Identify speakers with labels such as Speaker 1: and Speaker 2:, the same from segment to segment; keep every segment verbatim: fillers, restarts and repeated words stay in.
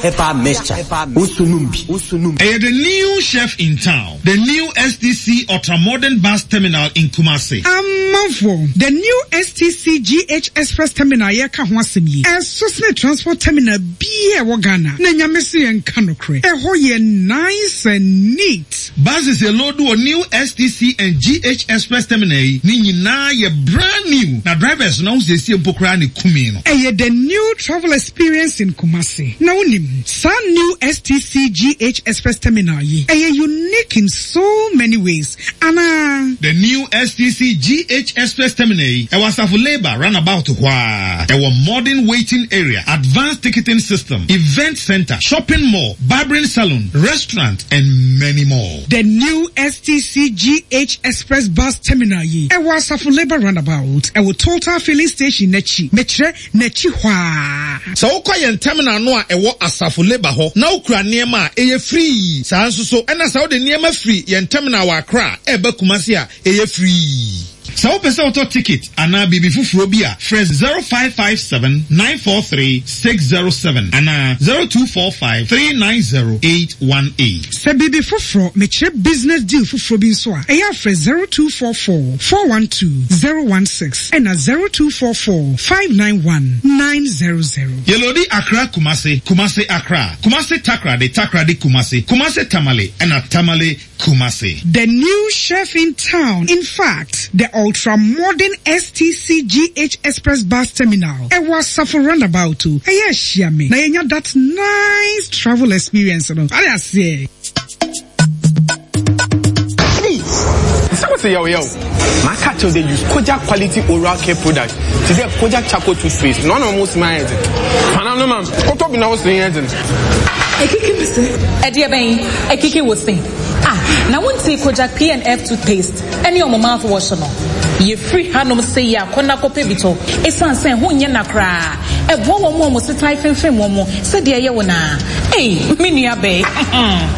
Speaker 1: Herbal mixture. Wosunum bi. Wosunum.
Speaker 2: Ɛyɛ the new chef in town, the new S T C ultramodern bus terminal in Kumasi.
Speaker 3: Amanfoɔ, the new S T C G H Express Terminal yɛka ho asɛm yi, ɛso sene transport terminal biaa ɛwɔ Ghana, na Nyame so yɛnka nokorɛ, ɛhɔ yɛ nice and neat.
Speaker 2: Buses yɛ load wɔ new S T C and G H Express terminal yi ne nyinaa yɛ brand new, na drivers no ahosiesie mpo koraa ne kumi no.
Speaker 3: Ɛyɛ the new travel experience in Kumasi. Na wonim saa new S T C G H Express Terminal yi, ɛyɛ unique in so many ways anaa?
Speaker 2: The new S T C G H Express Terminal yi ɛwɔ Asafo Labour roundabout hɔ a ɛwɔ modern waiting area, advanced ticketing system, event center, shopping mall, barbering salon, restaurant and many more.
Speaker 3: The new S T C G H Express Bus Terminal yi ɛwɔ Asafo Labour roundabout, ɛwɔ Total filling station n'akyi, mekyerɛ n'akyi hɔ a.
Speaker 2: Sɛ wokɔ yɛn terminal no a ɛwɔ Asafo Labour hɔ na wokura nneɛma a, ɛyɛ free. Saa nso so ɛna sɛ wode nneɛma firi yɛn terminal wɔ Accra a ɛba Kumasi a, ɛyɛ free. Sɛ wopɛ sɛ wotɔ ticket anaa biribi foforɔ bi a, frɛ zero five five seven nine four three six zero seven anaa zero two four five three nine zero eight one eight.
Speaker 3: Sɛ biribi foforɔ, mekyerɛ business deal foforɔ bi nso a, ɛyɛ afrɛ zero two four four four one two zero one six ɛna zero two four four five nine one nine zero zero.
Speaker 2: Yɛ load Accra Kumasi, Kumasi Accra, Kumasi Takoradi, Takoradi Kumasi, Kumasi Tamale ɛna Tamale Kumasi.
Speaker 3: The new chef in town. In fact, the ultra-modern S T C G H Express Bus Terminal. Ɛwɔ Asafo roundabout o. Ɛyɛ ahyia me. Na yɛnya that nice travel experience no. Ade aseɛ.
Speaker 4: Sɛ wɔsɛ yɛw yɛw maka kyerɛw dɛ use Kojak quality oral care product te sɛ Kojak charcoal toothpaste na ɔna ɔmo sima ayɛ dze fana no ma kɔtɔ bi na wɔsɛ yɛ dze.
Speaker 5: Ekiki mi se. Ɛdeɛ bɛn ekiki wo se? Ah, na wonti Kojak P and F toothpaste ɛne ɔmo mouthwash no, yɛfiri hanom sɛ yi akɔ na kɔpɛ bi tɔ, ɛsiane sɛ ho nyɛ na koraa ɛboa wɔn mu a wɔn setan femfem wɔn mo sɛdeɛ ɛyɛ wo naa. Ei, me nua bɛɛ.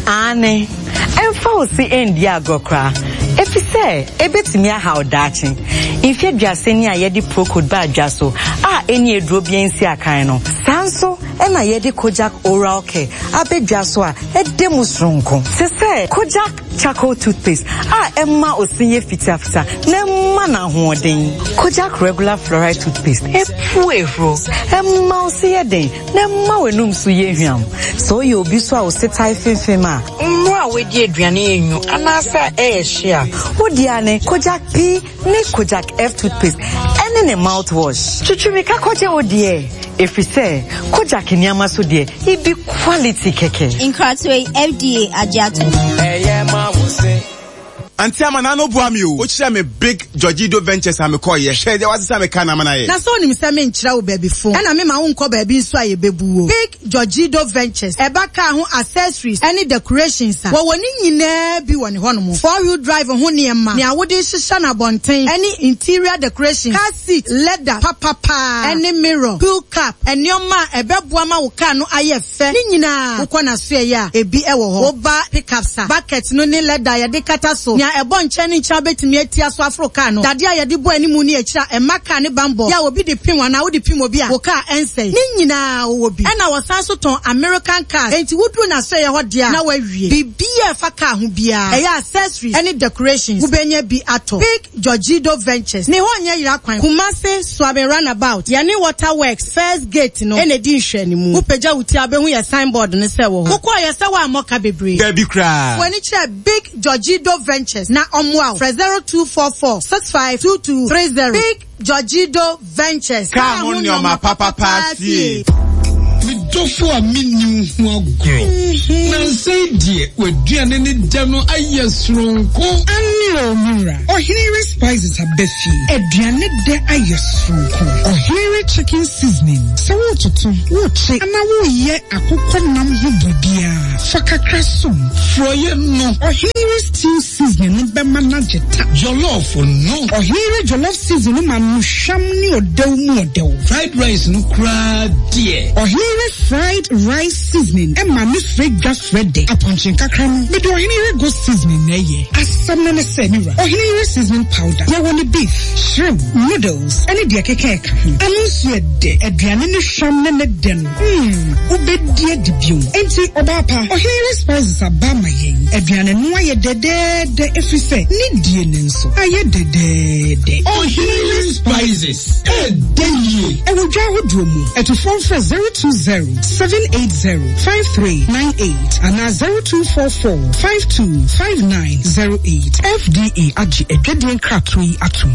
Speaker 6: Aane, ɛmfa wo se ɛndi agorɔ koraa, ɛfiri sɛ ɛbɛtumi ahaw daakye. Mfe aduasa ni a yɛde Procold ba adwa so a ɛni aduro bi nsi akan no, saa nso ɛna yɛde Kojak oral care abɛdwa so a ɛda mu soronko te sɛ Kojak charcoal toothpaste a ɛma osin yɛ fitafita na ɛma no ahoɔden. Kojak regular fluoride toothpaste ɛpu ehuro, ɛma wo se yɛ den na ɛma w'anum so yɛ hwam. Sɛ woyɛ obi so a wo se tae femfem a mmerɛ a woadi aduane enyu anaasɛ ɛyɛ hye a, wodi a ne Kojak P ne Kojak F toothpaste ɛne ne mouthwash. Twitwirika kɔgye wo deɛ, ɛfiri sɛ Kojak nneɛma so deɛ, ibi quality kɛkɛ.
Speaker 7: Nkratoɔ yi, F D A agye ato.
Speaker 8: Ɛyɛ ma wo se.
Speaker 9: Auntie Ama na no boa me o. Wokyerɛ me Big Georgido Ventures a mekɔɔyɛ. Hwɛ deɛ wasesa me ka na ama no ayɛ.
Speaker 10: Na sɛ wonim sɛ menkyerɛ wo baabi fo ɛna mema wonkɔ baabi nso a yɛbɛbu wo. Big Georgido Ventures ɛba car ho accessories ɛne decorations a, wɔwɔ ne nyinaa bi wɔ ne hɔnom. Four wheel drive ho nneɛma, nea wode hyehyɛ no abɔnten ɛne interior decoration, car seat leather papapaa ɛne mirror, wheel cap, nneɛma a ɛbɛboa ma wo car no ayɛ fɛ ne nyinaa, wokɔ n'asoɛyɛ a, ebi ɛwɔ hɔ. Woba pickups a, bucket no ne leather a yɛde kata so, nea ɛbɔ nkyɛn ne nkyɛn wobɛtumi atia so aforo car no, dadeɛ a yɛde bɔ anim ne akyiri a ɛma car ne bambɔ yɛ a obi de pim anaa wode pim obi a, wo car ɛnsɛe ne nyinaa wɔwɔ bi. Ɛna wɔsan so tɔn American cars, enti woduru n'asoɛyɛ hɔ deɛ a na wawie biribiara a ɛfa car ho biara, ɛyɛ accessories ɛne decorations, wobɛnya bi atɔ. Big Georgido Ventures ne hɔ nyɛ yera kwan. Kumase Suame roundabout, yɛne Water Works first gate no ɛna edi nhwɛnimu. Wopagya wo ti a, wobɛhu yɛ signboard no sɛ wɔ hɔ. Wokɔɔ yɛ sɛ woammɔ ka bebree.
Speaker 9: Dabi koraa.
Speaker 10: W'ani kyerɛ Big Georgido Ventures na ɔmmoa wo. Frɛ zero two four four six five two two three zero. Big Georgido Ventures.
Speaker 9: Kaa ho nneɛma papapa fie.
Speaker 11: Me dɔfo a menni wo ho agorɔ, nansɛn deɛ w'aduane ne dɛ no ayɛ soronko.
Speaker 3: Ane o, mewura. Ɔhenere Spices aba fie. Aduane dɛ ayɛ soronko. Ɔhenere chicken seasoning. Sɛ wototo, wokye, anaa woyɛ akokɔ nam ho biribiara. Fa kakra som.
Speaker 11: Frɔyɛ no.
Speaker 3: Ɔhene stew seasoning no bɛma no agye ta.
Speaker 11: Jollof no.
Speaker 3: Ɔhene jollof seasoning no ma no hwam ne ɔdɛw mu ɔdɛw.
Speaker 11: Fried rice no koraa deɛ.
Speaker 3: Ɔhene fried rice seasoning ɛma ne frɛ dwa frɛ dɛ. Apɔnkye nkakra no, mede ɔhene goat seasoning na ɛyɛ. Asɛm no ne sɛ, me wura, ɔhene seasoning powder. Yɛwɔ ne beef, shrimp, noodles, ɛne deɛ keka ɛka ho. Ano nso yɛ dɛ. Aduane ne hwam ne ne dɛ no. Hmm, wobɛdi adi bio. Enti, ɔbaa pa, ɔhene spices aba ama yɛn. Aduane no ayɛ dɛdɛɛdɛ ɛfiri sɛ ne die ne nso ayɛ dɛdɛɛdɛ.
Speaker 11: Ɔhene spices ɛdɛ yie.
Speaker 3: Ɛwɔ dwa ahodoɔ mu. Ɛtofoɔ mfrɛ zero two zero seven eight zero five three nine eight anaa zero two four four five two five nine zero eight. F D A agye adwadie nkratoɔ yi atom.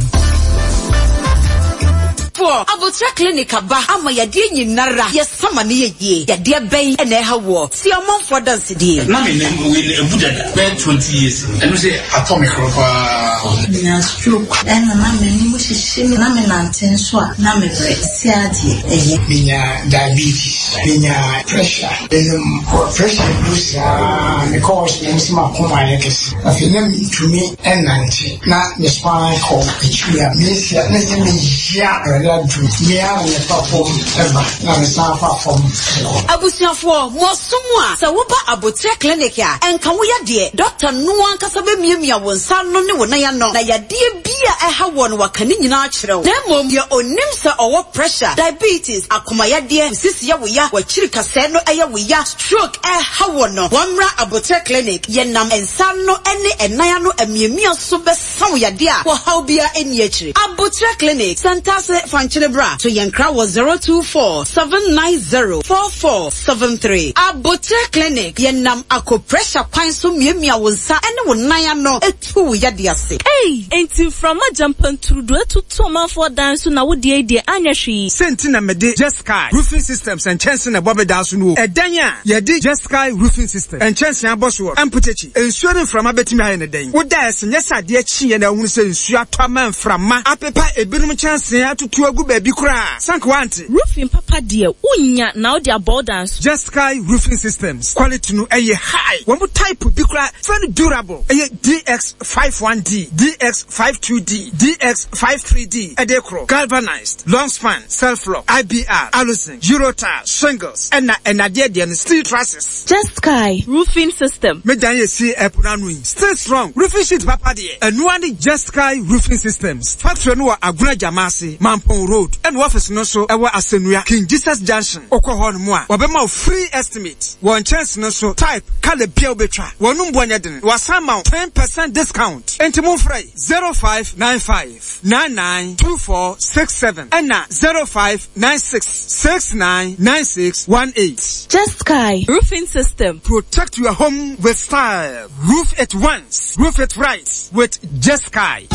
Speaker 6: Foɔ Abotra Clinic aba ama yadeɛ nyinara yɛsama ne yɛ yie. Yadeɛ bɛn ɛna ɛha woɔ? Si ɔmanfoɔ dansedie.
Speaker 12: Na me nam wei no ebu dada bɛyɛ twenty years, ɛno sɛ atɔ me korɔ paa.
Speaker 13: Menya stroke ɛna na m'anim hyehye me, na menante nso a na mebrɛ si adeɛ ɛyɛ.
Speaker 14: Menya diabetes, menya pressure, menom pressure du saa mekɔ hospital sɛ makoma ayɛ kɛse. Afei na mentumi ɛnante na me spine kɔ akyiri a mesia na ɛyɛ meya. Awurade adom mea na mefa fam ɛba na mesan fa fam ɛkɔ.
Speaker 6: Abusuafoɔ, mo asom a sɛ woba Abotrɛ Clinic a, ɛnka wo yadeɛ. Dɔkta no ankasa bɛmiamia wo nsa ano ne wo nan ano na yadeɛ bi a ɛha wɔ no waka ne nyinaa kyerɛ wo. Na mmom deɛ onim sɛ ɔwɔ pressure, diabetes, akomayadeɛ, sisi yɛ wo ya, wakyiri kasɛɛ no ɛyɛ wo ya, stroke ɛha wɔ no, wɔmmra Abotrɛ Clinic. Yɛnam nsa no ne ɛnan ano amiamia so bɛsa wo yadeɛ a wɔhaw biara nni akyire. Abotrɛ Clinic, Santase Fankyene bra to yɛn kra wɔ zero two four seven nine zero four four seven three. Abotrɛ Clinic, yɛnam acupressure kwan so miamia wo nsa ne wo nan ano etu wo yadeɛ ase.
Speaker 15: Ei, enti mframa gyampanturudu atutu ɔmanfoɔ dan so na wodeɛ yi deɛ anyɛ hwee.
Speaker 9: Sɛnti na mede Jesky Roofing Systems nkyɛnse na ɛbɔ me dan so no o. Ɛdan a yɛde Jesky Roofing System nkyɛnse abɔ soɔ mpotakyi, nsuo ne mframa bɛtumi ayɛ ne dɛn? Woda ɛse nyɛ sɛ adeɛ kyeeɛ na ahunu sɛ nsuo atɔ ama mframa apepa ebinom nkyɛnse atutu agu baabi koraa sanka wante.
Speaker 15: Roofing papa deɛ, wonya na wode abɔ wo dan so.
Speaker 9: Jesky Roofing Systems quality no ɛyɛ high. Wɔn mo type bi koraa very durable, ɛyɛ D X five one D, D X five two D, D X five three D ɛde korɔ, galvanized, long span, self lock, I B R, aluzinc, Eurotile, shingles, ɛna ɛnadeɛ deɛ no steel trusses.
Speaker 15: Jesky Roofing System.
Speaker 9: Me dan yɛ si ɛpo n'ano yi still strong. Roofing sheet papa deɛ, ɛnoa ne Jesky Roofing Systems. Factory no wɔ Agona Jamase, Mampong Road, ɛna office no nso ɛwɔ Asɛnua, King Jesus Junction. Wokɔ hɔ no mu a, wɔbɛma wo free estimate wɔ nkyɛnse no so, type, colour bia wobɛtwa. Wɔn mboa nyɛ den, wasan ma wo ten percent discount. Enti momfrɛ zero five nine five nine nine two four six seven ɛna zero five nine six six nine nine six one eight.
Speaker 15: Jesky Roofing System.
Speaker 9: Protect your home with style. Roof it once, roof it right with Jesky.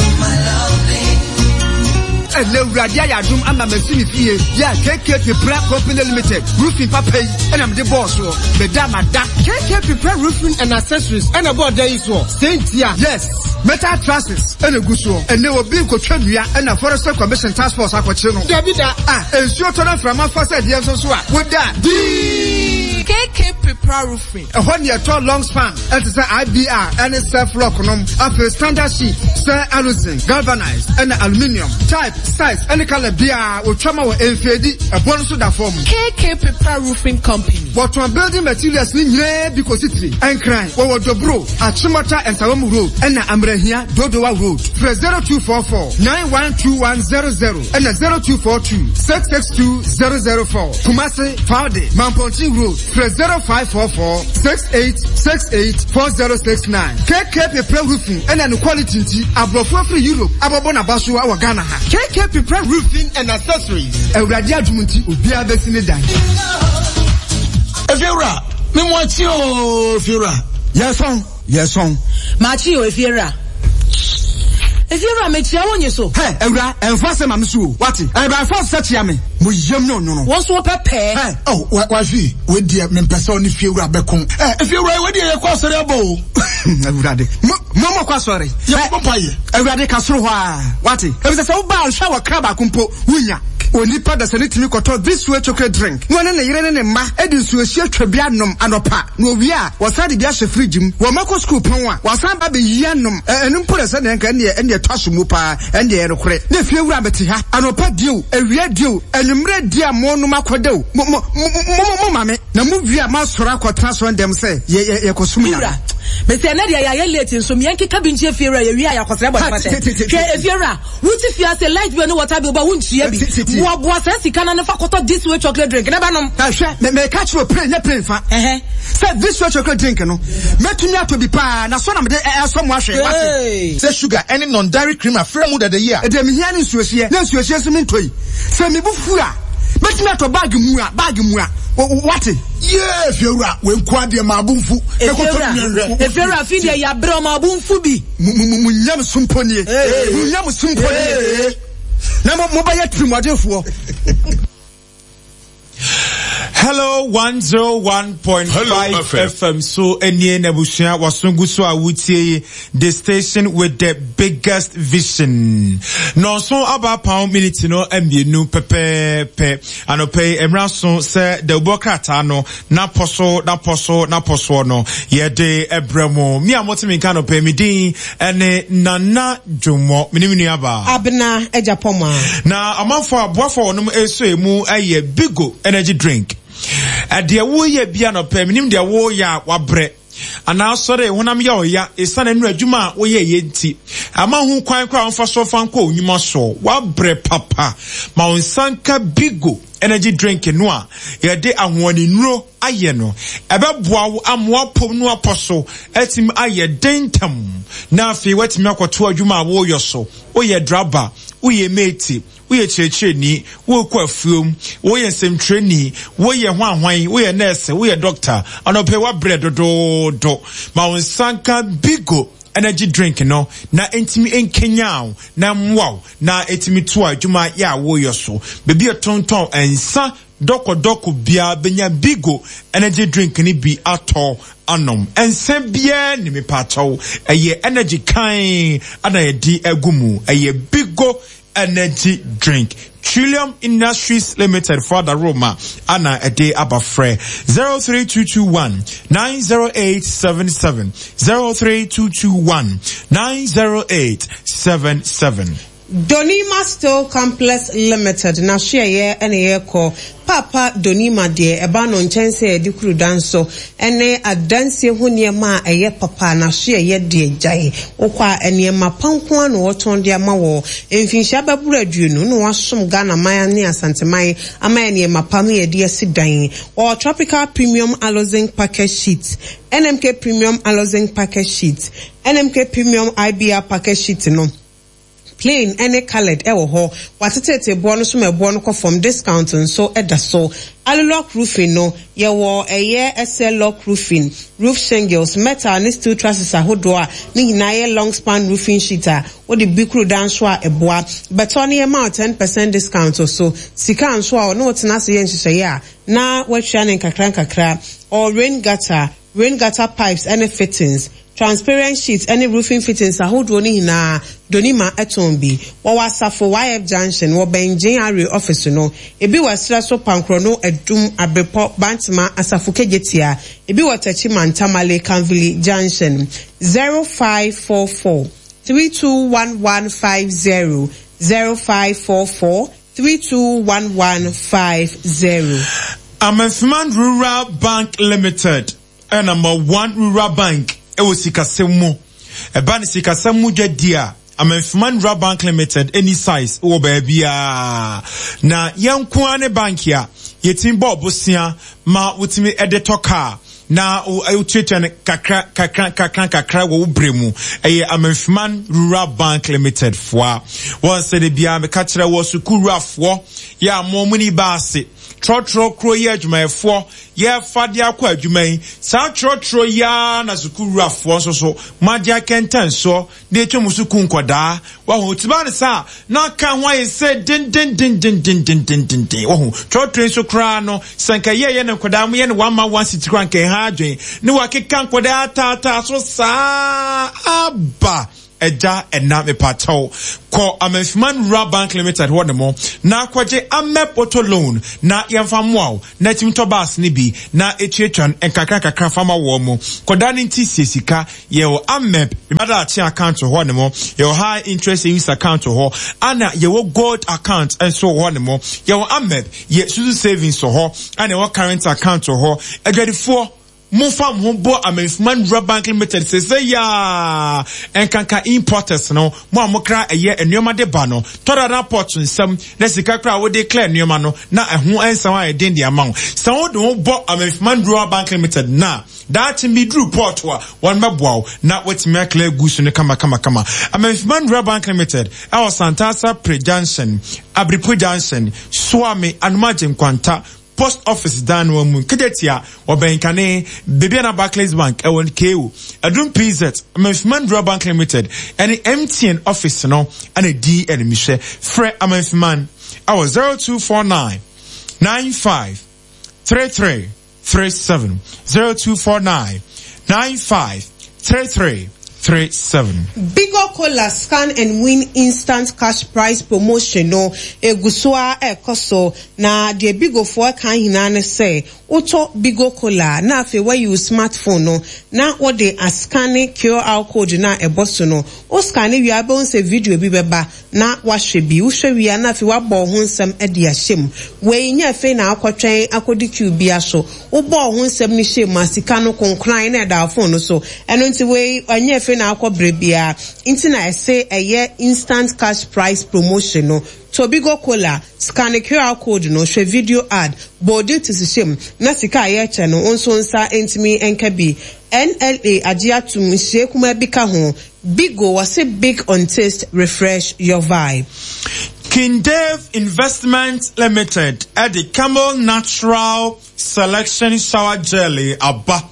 Speaker 9: Ɛnɛ Awurade ayɛ adom ama masi me fie yɛ K K Pepra Company Limited roofing papa yi ɛna mede bɔɔ soɔ meda mada.
Speaker 4: K K Pepra Roofing and Accessories ɛna bɔɔ da yi soɔ sɛntia.
Speaker 9: Yes, metal trusses ɛna gu soɔ. Ɛnɛ obi nkotwa nnua ɛna Forestry Commission Task Force akɔkyere no.
Speaker 4: Dabi da.
Speaker 9: A nsuo tɔ no mframa fa sɛ deɛ nso so a woda dii.
Speaker 16: K K Pepra Roofing.
Speaker 9: Ɛhɔ ne ɛtɔ long span ɛte sɛ I B R ɛne self lock nom, afei standard sheet sɛ aluzinc, galvanized ɛna aluminium, type, size ɛne colour biara wɔtwa ma wɔ mfeedi ɛbɔ no so da fam.
Speaker 16: K K Pepra Roofing Company.
Speaker 9: Wɔtɔn building materials ne nyinaa bi kɔsi tiri Ɛnkran. Wɔwɔ Dobro, Achimota Nsawam Road ɛna Amrahia Dodowa Road. Frɛ zero two four four nine one two one zero zero ɛna zero two four two six six two zero zero four. Kumasi Faude, Mampontin Road, frɛ zero five four four six eight six eight four zero six nine. K K Pepra Roofing ɛna ne quality nti aborɔfo afiri Europe abɔbɔ n'aba so wɔ Ghana ha.
Speaker 4: K K Pepra Roofing and Accessories.
Speaker 9: Awurade adum nti obiara bɛsi ne dan.
Speaker 11: Efiewura, mímu akyi ooo, efiewura.
Speaker 9: Yɛsɔn yɛsɔn.
Speaker 17: Maakye o, efiewura. Efiewura, mekyia wo nye so.
Speaker 9: Hɛ, awura, ɛnfa sɛ maame so o, wate ɛbɛn fɔ sɛ kyia me mo yam ne ɔnwono.
Speaker 17: Wɔn nso wɔpɛ pɛɛ.
Speaker 9: Hɛ.
Speaker 11: Ɔ wa wafi wei deɛ mempɛ sɛ ɔne fiewura bɛko. Ɛ, efiewura, wei deɛ yɛkɔ asɔre abɔ o.
Speaker 9: Awurade, mo mo mo kɔ asɔre.
Speaker 11: Yɛbɔ mpa yɛ.
Speaker 9: Awurade ka soro hɔ a wate efisɛ sɛ woba ahwɛ wɔ kra baako mpo wunya. Onipa dasani tumi kɔtɔ This Way chocolate drink na ɔne ne yere ne ne mma de nsuohyeɛ twa bi anom anɔpa, na wɔwie a, wɔsan de bi ahyɛ fridge mu. Wɔn mma kɔ sukuu pɔn a, wɔasan aba abɛyi anom. Ɛ, ɛno mpo na sɛdeɛ nka ɛnneɛ, ɛnneɛ ɛtɔ asom mu paa. Ɛndeɛ ɛyɛ nokorɛ. Na fie wura mete ha anɔpa die o, awia die o, anwummerɛ die a monom akɔda o, mo, mo, mo, mo, mo ma me. Na mo wie a moasɔre akɔtena asɔrendɛm sɛ yɛ, yɛ, yɛkɔsom
Speaker 17: Me
Speaker 9: Nyame.
Speaker 17: wura, mese ɛnɛ deɛ yɛayɛ late nso me yɛnkeka bi nkyerɛ fie wura yɛwie a yɛakɔsrɛ bɔne
Speaker 9: Ha,
Speaker 17: fakyɛ.
Speaker 9: tie, tie, tie,
Speaker 17: Hwɛ
Speaker 9: tie.
Speaker 17: efie wura, wote fie ase light bill ne water bill ba wontua bi.
Speaker 9: Tie, tie, tie.
Speaker 17: Boaboa saa sika no ano fa kɔtɔ this way chocolate drink na bɛnom.
Speaker 9: Na hwɛ, me, meka kyerɛ wo plain, nyɛ plain fa.
Speaker 17: Ɛhɛ.
Speaker 9: Sɛ this way chocolate drink no, mɛtumi atɔ bi paa, na sɔ na mede ɛ, ɛsɔ mo ahwɛ, wate?
Speaker 17: Hey.
Speaker 2: Sɛ sugar ne non-dairy cream afra mu dada yi a.
Speaker 9: Deɛ mehia ne nsuohyeɛ, na nsuohyeɛ nso mentɔ yi. Sɛ me bo fu a, mɛtumi atɔ bag mua, bag mua, wate?
Speaker 18: Yee, Fiewura, wei nko ara deɛ maa bo mfu.
Speaker 17: Efiewura, Efiewura, afi deɛ yɛabrɛ ɔma bo mfu bi.
Speaker 9: Mo, mo, mo nyamesom mpo nie. Mo nyamesom mpo nie. Na mo, mobɛyɛ tirimuɔdenfoɔ.
Speaker 19: Hello one zero one point five F M so nie n'abusua waso gu so a wotie yi, the station with the biggest vision. Nɔnso aba apam miniti no mmienu pɛpɛɛpɛ. Anɔpɛ yi mmerɛ so sɛ dawubɔ krataa no n'apɔ so n'apɔ so n'apɔ soɔ no yɛde ɛbrɛ mo. Mi a mote mi nka anɔpɛ yi, me din ɛne Nana Dwomɔ, me ne me nua baa
Speaker 20: Abena Agyapɔmaa.
Speaker 19: Na amanfoɔ aboafoɔ a wɔnom ɛsɔ emu ɛyɛ Bigo Energy Drink. Ɛdeɛ woyɛ bi anɔpɛ, menim deɛ woyɛ a wabrɛ anaa asɔre honam yɛ ɔya ɛsiane nnura adwuma a woyɛ yɛ nti ama ho kwan koraa wɔmfa so fa nkɔ onyuma soɔ, wabrɛ papa. Ma wo nsa nka Bigo Energy Drink no a yɛde ahoɔdennuro ayɛ no, ɛbɛboa wo ama wapom no apɔ so atumi ayɛ den ntɛm, na afei woatumi akɔto adwuma a woyɔ so. Woyɛ draba, woyɛ mate, woyɛ kyerɛkyerɛni, wokɔ afuom, woyɛ nsɛmtwerɛni, woyɛ hwanhwan, woyɛ nurse, woyɛ doctor, anɔpɛ wabrɛ dodoodo, ma wo nsa nka Bigo Energy Drink no na ntumi nkenyan wo na mmoa wo na ɛtumi to adwuma yɛ a woyɔ so. Baabi a tontɔn nsa dɔkɔdɔkɔ biara bɛnya Bigo Energy Drink no bi atɔ anom. Nsa biara ni mepaakyɛw, ɛyɛ energy kan ana yɛde agu mu. Ɛyɛ Bigo Energy Drink. Trillium Industries Limited for the Roma ana ɛde aba. Frɛ zero three two two one nine zero eight seven seven, zero three two two one nine zero eight seven seven.
Speaker 20: Donima Steel Complex Limited n'ahyeɛyɛ ɛna yɛrekɔ. Papa Donima deɛ, ɛba no nkyɛn sɛ yɛde kuru dan so ɛne adansie ho nneɛma a ɛyɛ papa. N'ahyeɛyɛ deɛ, gyae wokɔ a nneɛma pa nko ara na wɔtɔn de ama wɔ mfinhyia bɛboro aduonu na wasom Ghana man ne Asanteman ama yɛ nneɛma pa no yɛde asi dan. Wɔwɔ Tropical Premium Aluzinc Package Sheet, N M K Premium Aluzinc Package Sheet, N M K Premium I B R Package Sheet no, plain ɛne coloured ɛwɔ hɔ. Watetete boɔ no so ma ɛboɔ no kɔ fam, discount nso ɛda so. Alulock roofing no, yɛwɔ ɛyɛ S L lock roofing, roof shingles, metal ne steel trusses ahodoɔ a ne nyinaa yɛ long span roofing sheet a wode bi kuru dan so a ɛboa. Bɛtɔ ne yɛma wo ten percent discount so. Sika nso a ɔne wo tena ase yɛ nhyehyɛeɛ a na watua ne nkakra nkakra. Or rain gutter, rain gutter pipes ɛne fittings, transparent sheets ɛne roofing fittings ahodoɔ no nyinaa, Donima ɛtɔn bi. Wɔwɔ Asafo Y F Junction, wɔ bɛn G R A office no. Ebi wɔ ɛserɛ so, Pankorɔ no, Adum, Abrepɔ, Bantama, Asafo Kejetia. Ebi wɔ Techiman, Tamale, Kanvili Junction. zero five four four three two one one five zero, zero five four four three two one one five zero.
Speaker 19: Amenfiman Rural Bank Limited ɛ number one rural bank ɛwɔ sikasɛm mu. Ɛba ne sikasɛm mu dwadi a, Amenfiman Rural Bank Limited any size wɔ baabiara na yɛn nko ara ne bank a yɛtumi bɔ ɔbosea ma wotumi ɛde tɔ kaa na wotuatua no kakra kakra kakra kakra wɔ wo berɛ mu. Ɛyɛ Amenfiman Rural Bank Limited foa wɔn sɛ de biara meka kyerɛ wɔ sukuu wurafoɔ yɛ a mo mo ni baase trɔtrɔ kuro yi adwumayɛfoɔ yɛfa de akɔ adwuma yi, saa trɔtrɔ yi ara na sukuu wurafoɔ nso so mo agye akɛntɛn soɔ de atwa mu sukuu nkɔdaa. Wahu tiba ne saa na aka ho ayɛ sɛ dendendendendendendenden. Wahu trɔtrɔ yi nso koraa no, sɛ nka yɛyɛ ne nkɔdaa mo yɛ ne one man one city koraa, nka ɛha adwen ne wakeka nkɔdaa ataataa so saa aba. Agya ɛna mepakyɛw kɔ Amanfiman Rural Bank Limited hɔ nom na kɔgye AMEP auto loan na yɛmfa mmoa wo na tumi tɔ bus no bi na etuatua no nkakra nkakra fa ma wɔn mo. Kɔda no nti sie sika. Yɛwɔ AMEP Madaakye account hɔ nom, yɛwɔ high interest savings account hɔ, ana yɛwɔ gold account nso hɔ nom. Yɛwɔ AMEP yɛ susu savings wɔ hɔ, ana yɛwɔ current account wɔ hɔ. Adwadifoɔ, momfa mo ho bɔ Amanfiman Rural Bank Limited sese yaa nkanka importers no mo a mokra ɛyɛ nneɛma de ba no tɔda na port nsɛm na sika kra wode clear nneɛma no na ɛho nsɛm ayɛ den de ama wo. Sɛ wode ho bɔ Amanfiman Rural Bank Limited na daakye bi duru port a wɔn bɛboa wo na watumi aclear goods no kama kama kama. Amanfiman Rural Bank Limited ɛwɔ Santasa Pre Junction, Abripo Junction, Suame, Anomagye Nkwanta Post Office dan no mu Kejetia ɔbɛnkane Bibiana Barclays Bank ɛwɔ K O Adum P Z Amanfiman Rural Bank Limited ɛne M T N office no ɛna di ɛnimhwɛ. Frɛ Amanfiman ɛwɔ zero two four nine nine five three three three seven zero two four nine nine five three three three seven.
Speaker 20: Bigo Cola Scan and Win Instant Cash Prize Promotion no egusua ekoso na de Bigo for kan hina ne se woto Bigo Cola na afi wa use smartphone no na wo de ascan Q R code na eboso no o scan wi abon se video bi beba na wahwe bi wo hwe wi na afi wa bo ho nsem e de ahyem we nya afi na akotwen akodi Q bia so wo bo ho nsem ni hyem asika no konkran na da phone no so eno nti we anya afi na akɔbrɛ bia nti na ɛsɛ ɛyɛ instant cash prize promotion no Tobigo Cola scan Q R code no hwɛ video ad body to shyem na sika ayɛ kyɛ no nso nsa ntimi enka bi N L A agye atum nhye kuma bi ka ho Bigo was a big on taste, refresh your vibe.
Speaker 19: King Dave Investment Limited at the Camel Natural Selection Shower Jelly aba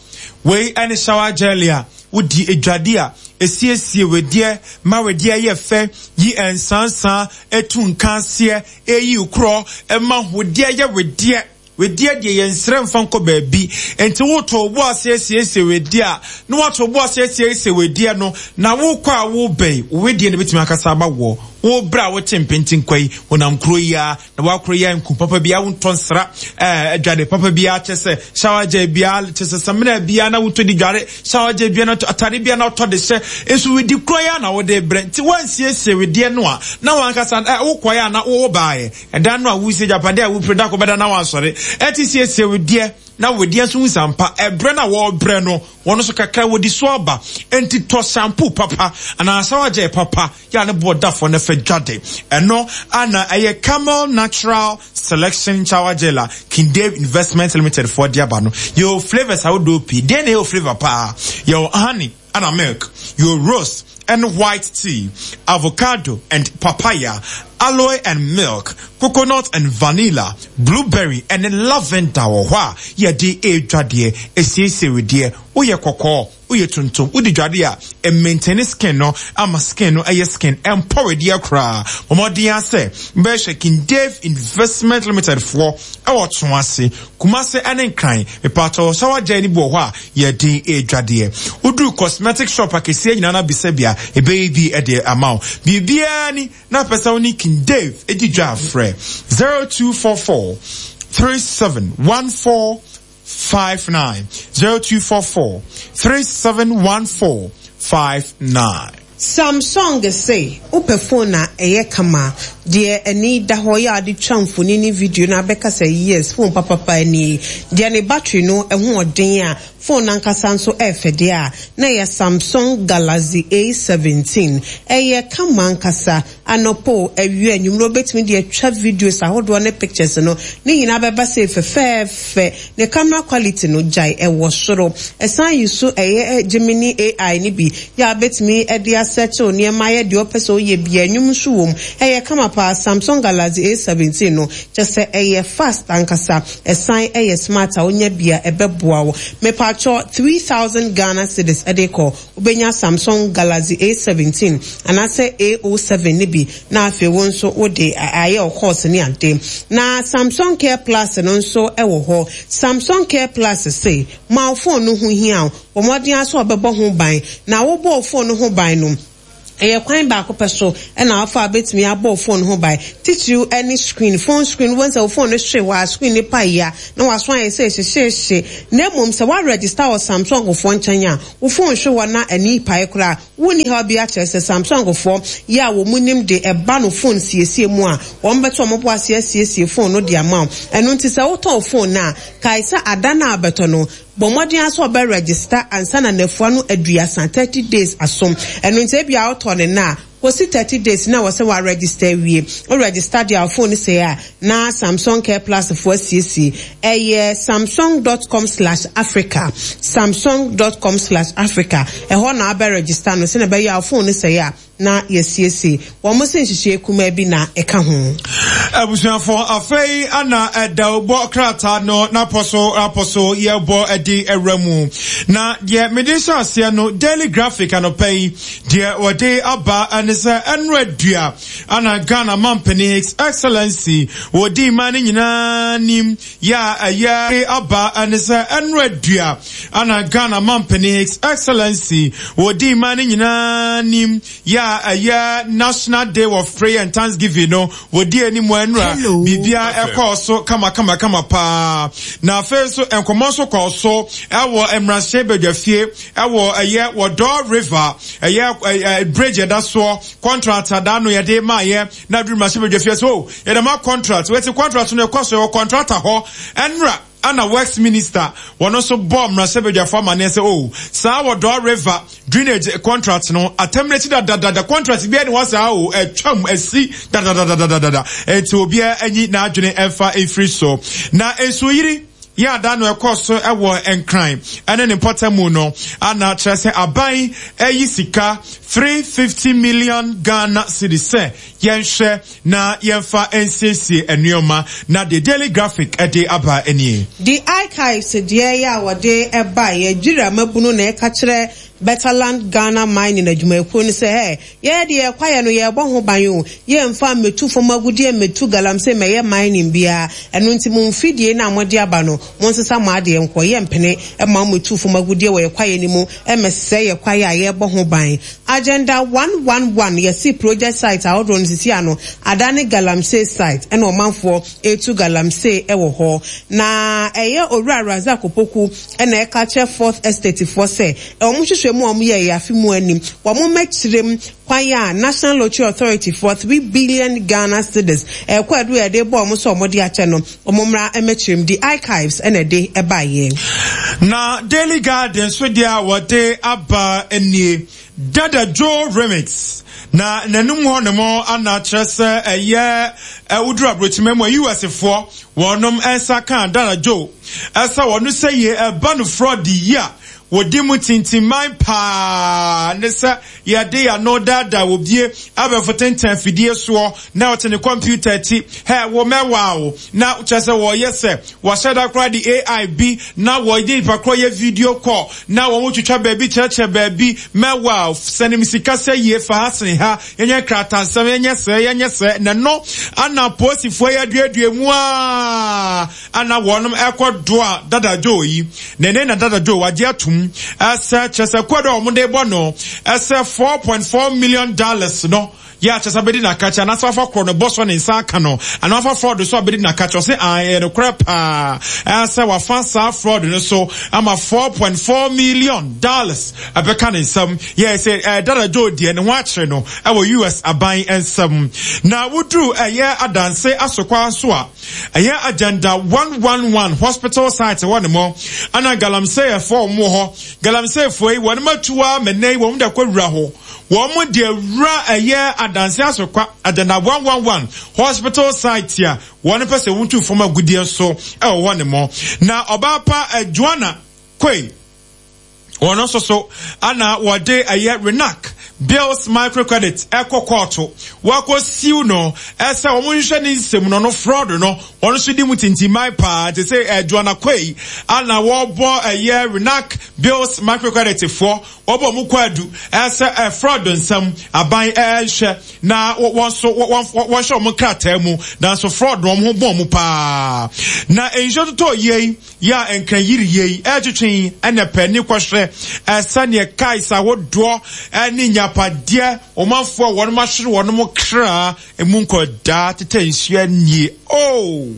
Speaker 19: wei any shower jelly a wodi edwade a esiesie wedie ma wedie ye fe yi ensansan etu nkanse eyi ukro e ma hodie ye wedie wedie de ye nsere mfa nkɔ baabi enti wo to bo asiesie wedie a na wo to bo asiesie wedie no na wo kɔ a wo bɛi wedie ne betimi akasa ba wo wo bra wo tempentin kwai wonam kro ya na wa kro ya nku papa bia wo ntonsra eh adwade papa bia kyese shower gel bia kyese samina bia na wo to di dware shower gel bia na atare bia na to de hye enso wedi kro ya na wo de bre nti wansiesie wedie no a na wankasa wo kɔ ya na wo baaye edan no a wo sie japade a wo preda ko beda na wansɔre eti siesie wedie na wedie nso nsampa ebre na wo bre no wono so kakra wodi so aba enti to shampoo papa ana shower gel papa ya ne bodafo na fa dwade eno ana eye Camel Natural Selection Shower Gel King Dave Investment Limited for diaba no yo flavors awodo pi de na yo flavor pa yo honey and milk, your rose and white tea, avocado and papaya, aloe and milk, coconut and vanilla, blueberry and lavender. Wa ye di e dwade esiesie wedie wo ye kokoo wo ye tuntum wo di dwade a e maintain skin no ama skin no eye skin empower di akra momodin ase be hwe King Dave Investment Limited for e wo to ase Kumase ene nkran me pato shower gel ni bo ho a ye di e dwade udu cosmetic shop akesie nyina na bisabia e baby e de amount bibia ni na pesa oni King Dave e di dwa frɛ zero two four four three seven one four five nine zero two four four three seven one four five nine.
Speaker 20: Samsung say ope phone na eye kama de eni da ho ya de twamfoni ni video na beka say yes phone papa pa ni de ne battery no eho odin a phone nankasa nso efede a na ye Samsung Galaxy A seventeen eye kama nkasa anopo awie anwumro betimi de twa videos ahodo ne pictures no ne nyina beba say fefefe ne camera quality no jai ewo soro esan yiso eye Gemini A I ni bi ya betimi e de search oni ma ye de opese oye bia anwum so wom eye kama pa Samsung Galaxy A seventeen no kyese eye fast ankasa esan eye smart a onya bia ebeboa wo me pacho three thousand Ghana cedis edeko ubenya Samsung Galaxy A seventeen and I say A oh seven ni bi na afi wo nso wo de aye of course ni ade na Samsung Care Plus no nso e wo ho Samsung Care Plus say ma phone no ho hia wo modern aso obebo ho ban na wo bo phone no ho ban no Ɛyɛ kwan baako pɛ so ɛna afa a bɛtumi abɔ phone ho ban, titiriw ɛne screen, phone screen. Wɔn sɛ wo phone no hwe hɔ a, screen ne pa yi a na waso ayɛ sɛ ɛhyehyɛhyɛ. Na mmom sɛ woaregister wɔ Samsung foɔ nkyɛn a, wo phone hwe hɔ na ani pae koraa, wonni ha bi akyerɛ sɛ Samsung foɔ yɛ a wɔn mu nim de ɛba no phone siesie mu a, wɔn bɛtɔ wɔn bo ase asiesie phone no de ama wo. Ɛno nti sɛ wotɔn phone no a, kae sɛ ada no a bɛtɔ no, bɔ mmɔden aso ɔbɛ register ansa na nafua no aduasa, thirty days asom. Ɛno nti ebi a wotɔ ne na kɔsi thirty days na wɔsɛ wa register wie. O register deɛ a, phone sɛ a na Samsung Care Plus foɔ asiesie. Ɛyɛ samsung dot com slash africa, samsung dot com slash africa. Ɛhɔ na abɛ register no sɛnɛ ɛbɛyɛ a phone sɛ a na yɛsiesie. Wɔn mo sɛ nhyehyɛ kumaa bi na ɛka ho.
Speaker 19: Abusuafo, afei ana ɛda bɔ krataa no n'apɔ so apɔ so yɛbɔ ɛde ɛwura mu. Na deɛ mede hyɛ aseɛ no, Daily Graphic anɔpɛ yi deɛ wɔde aba ɛne sɛ ɛno adua ana Ghana mampanin, His Excellency, wɔdi mmaa no nyinaa nim yɛ a ɛyɛ aba ɛne sɛ ɛno adua ana Ghana mampanin, His Excellency, wɔdi mmaa no nyinaa nim yɛ a ɛyɛ National Day of Prayer and Thanksgiving no wɔdi anim ɛnura. Biribia ɛkɔɔ so kama kama kama paa. Na afei nso nkɔmɔ nso kɔɔ so ɛwɔ mmarahyɛ badwafie ɛwɔ ɛyɛ Odaw River ɛyɛ ɛɛ bridge ɛda soɔ contract ada no yɛde maa yɛ na aduru mmarahyɛ badwafie so yɛde ma contract wɔti contract no ɛkɔ so ɛwɔ contractor hɔ. Ɛnura ana Works Minister wɔn nso bɔ mmarahyɛ badwafo amaneɛ sɛ o saa Odaw River drainage contract no atam n'akyi dadadada, contract bi ɛne hɔ saa o ɛtwam asi dadadadadada, eti obiara anyi n'adwene ɛmfa efiri so. Na nsuyiri yɛ ada no ɛkɔ so ɛwɔ Nkran ɛne ne mpɔtamu no ana kyerɛ sɛ aban ɛyi sika three fifty million Ghana cedis sɛ yɛnhwɛ na yɛmfa nsiesie nneɛma. Na the Daily Graphic ɛde aba nie.
Speaker 20: The Archives deɛ yɛ a wɔde ɛba yɛ dwira mabunu na ɛka kyerɛ Betterland Ghana Mining adwumayɛkuo no sɛ ɛ yɛyɛ deɛ kwaeɛ no yɛbɔ ho ban o, yɛmfa mmɛtu fam agudeɛ, mmɛtu galamsey mɛyɛ mining biara. Ɛno nti mo mfidie no a mode aba no, monsesa mo adeɛ nkɔ. Yɛmpene ma mmɛtu fam agudeɛ wɔ yɛ kwaeɛ no mu ɛmɛsɛe yɛ kwaeɛ a yɛbɔ ho ban. Agenda one one one yɛsi project site ahodoɔ no sisi ano adane galamsey site, ɛna ɔmanfoɔ etu galamsey ɛwɔ hɔ. Na ɛyɛ Owura Razak Opoku ɛna ɛka kyerɛ Fourth Estate foɔ sɛ wɔn hwehwɛ mu a wɔn yɛ yɛ afi mu anim, wɔn mɛkyerɛ mu kwan a National Lottery Authority for three billion Ghana cedis ɛkɔ ɛdo yɛde bɔ wɔn sɛ wɔn de akyɛ no, wɔn mmra mɛkyerɛ mu. The Archives ɛna ɛde ɛbaayɛ.
Speaker 19: Na Daily Guide nso deɛ a wɔde aba nie, Dada Joe Remix. Na n'anum hɔ nom ana kyerɛ sɛ ɛyɛ ɛwoduru aburokyima mu a U S foɔ wɔnom nsa ka Dada Joe ɛsɛ wɔn sɛ yie ɛba no fraud yi a wɔdi mu tintiman paa ne sɛ yɛde ano daadaa obie abɛfo tenten afidie soɔ na ɔte ne kɔmputa akyi hɛ wɔ mɛwaa o, na kyerɛ sɛ wɔyɛ sɛ wɔahyɛ da koraa de A I bi na wɔde nipa korɔ yɛ video call na wɔn twitwa baabi kyerɛkyerɛ baabi mɛwaa sɛnim sika sɛ yie fa ha sene ha, yɛnyɛ kratansɛm, yɛnyɛ sɛ yɛnyɛ sɛ na no ana polisifoɔ yɛ aduadua mu a ana wɔnom ɛkɔ doa Dada Joe yi na ne na Dada Joe wagye atum ɛsɛ kyerɛ sɛ kɔdɔ a wɔn de bɔ no ɛsɛ four point four million dollars no yɛ akyɛ sɛ abɛdi n'akakyɛ anaasɛ wafa korɔ no bɔ so ne nsa aka no anaa wafa fraud so abɛdi n'akakyɛ. Ɔsɛ ɛyɛ nokorɛ paa ɛsɛ wafa saa fraud no so ama four point four million dollars ɛbɛka ne nsam. Yɛ sɛ ɛɛ Dada Joe deɛ ne ho akyerɛ no ɛwɔ U S aban nsam. Na woduru ɛyɛ Adanse Asokwa so a ɛyɛ Agenda one one one hospital site wɔ ne mo ana galamseyɛfoɔ wɔn wɔ hɔ. Galamseyɛfoɔ yi wɔn atuwa mɛnɛ yi wɔn de akɔ wura hɔ, wɔn de awura ɛyɛ Adanse Asokwa Agenda one one one hospital site a wɔn pɛ sɛ wɔn fam agudeɛ so ɛwɔ hɔ ne mo. Na ɔbaa pa Joanna Koi wɔn nso so ana wɔde ɛyɛ Renac Bills Microcredit ɛkɔ kɔɔto wakɔ sue no ɛsɛ wɔn hwehwɛ ne nsɛm no no fraud no wɔn nso di mu tintiman paa te sɛ ɛ Joanna Koi ana wɔbɔ ɛyɛ Renac Bills Microcredit foɔ wɔbɔ wɔn kɔ adu ɛsɛ ɛ fraud nsɛm aban ɛɛhwɛ na wɔn nso wɔn wɔhyɛ wɔn krataa mu nanso fraud wɔn ho bɔn mu paa. Na nsuo totɔ yie yɛ a nkran yiri yie ɛtwitwi ɛna pɛ ne kɔhwɛ ɛsɛneɛ cars ahodoɔ ɛne nya Agyapadeɛ, ɔmanfoɔ a wɔnom ahwere wɔnom kra, emu nkɔdaa tetɛ nsuo anie. Oh!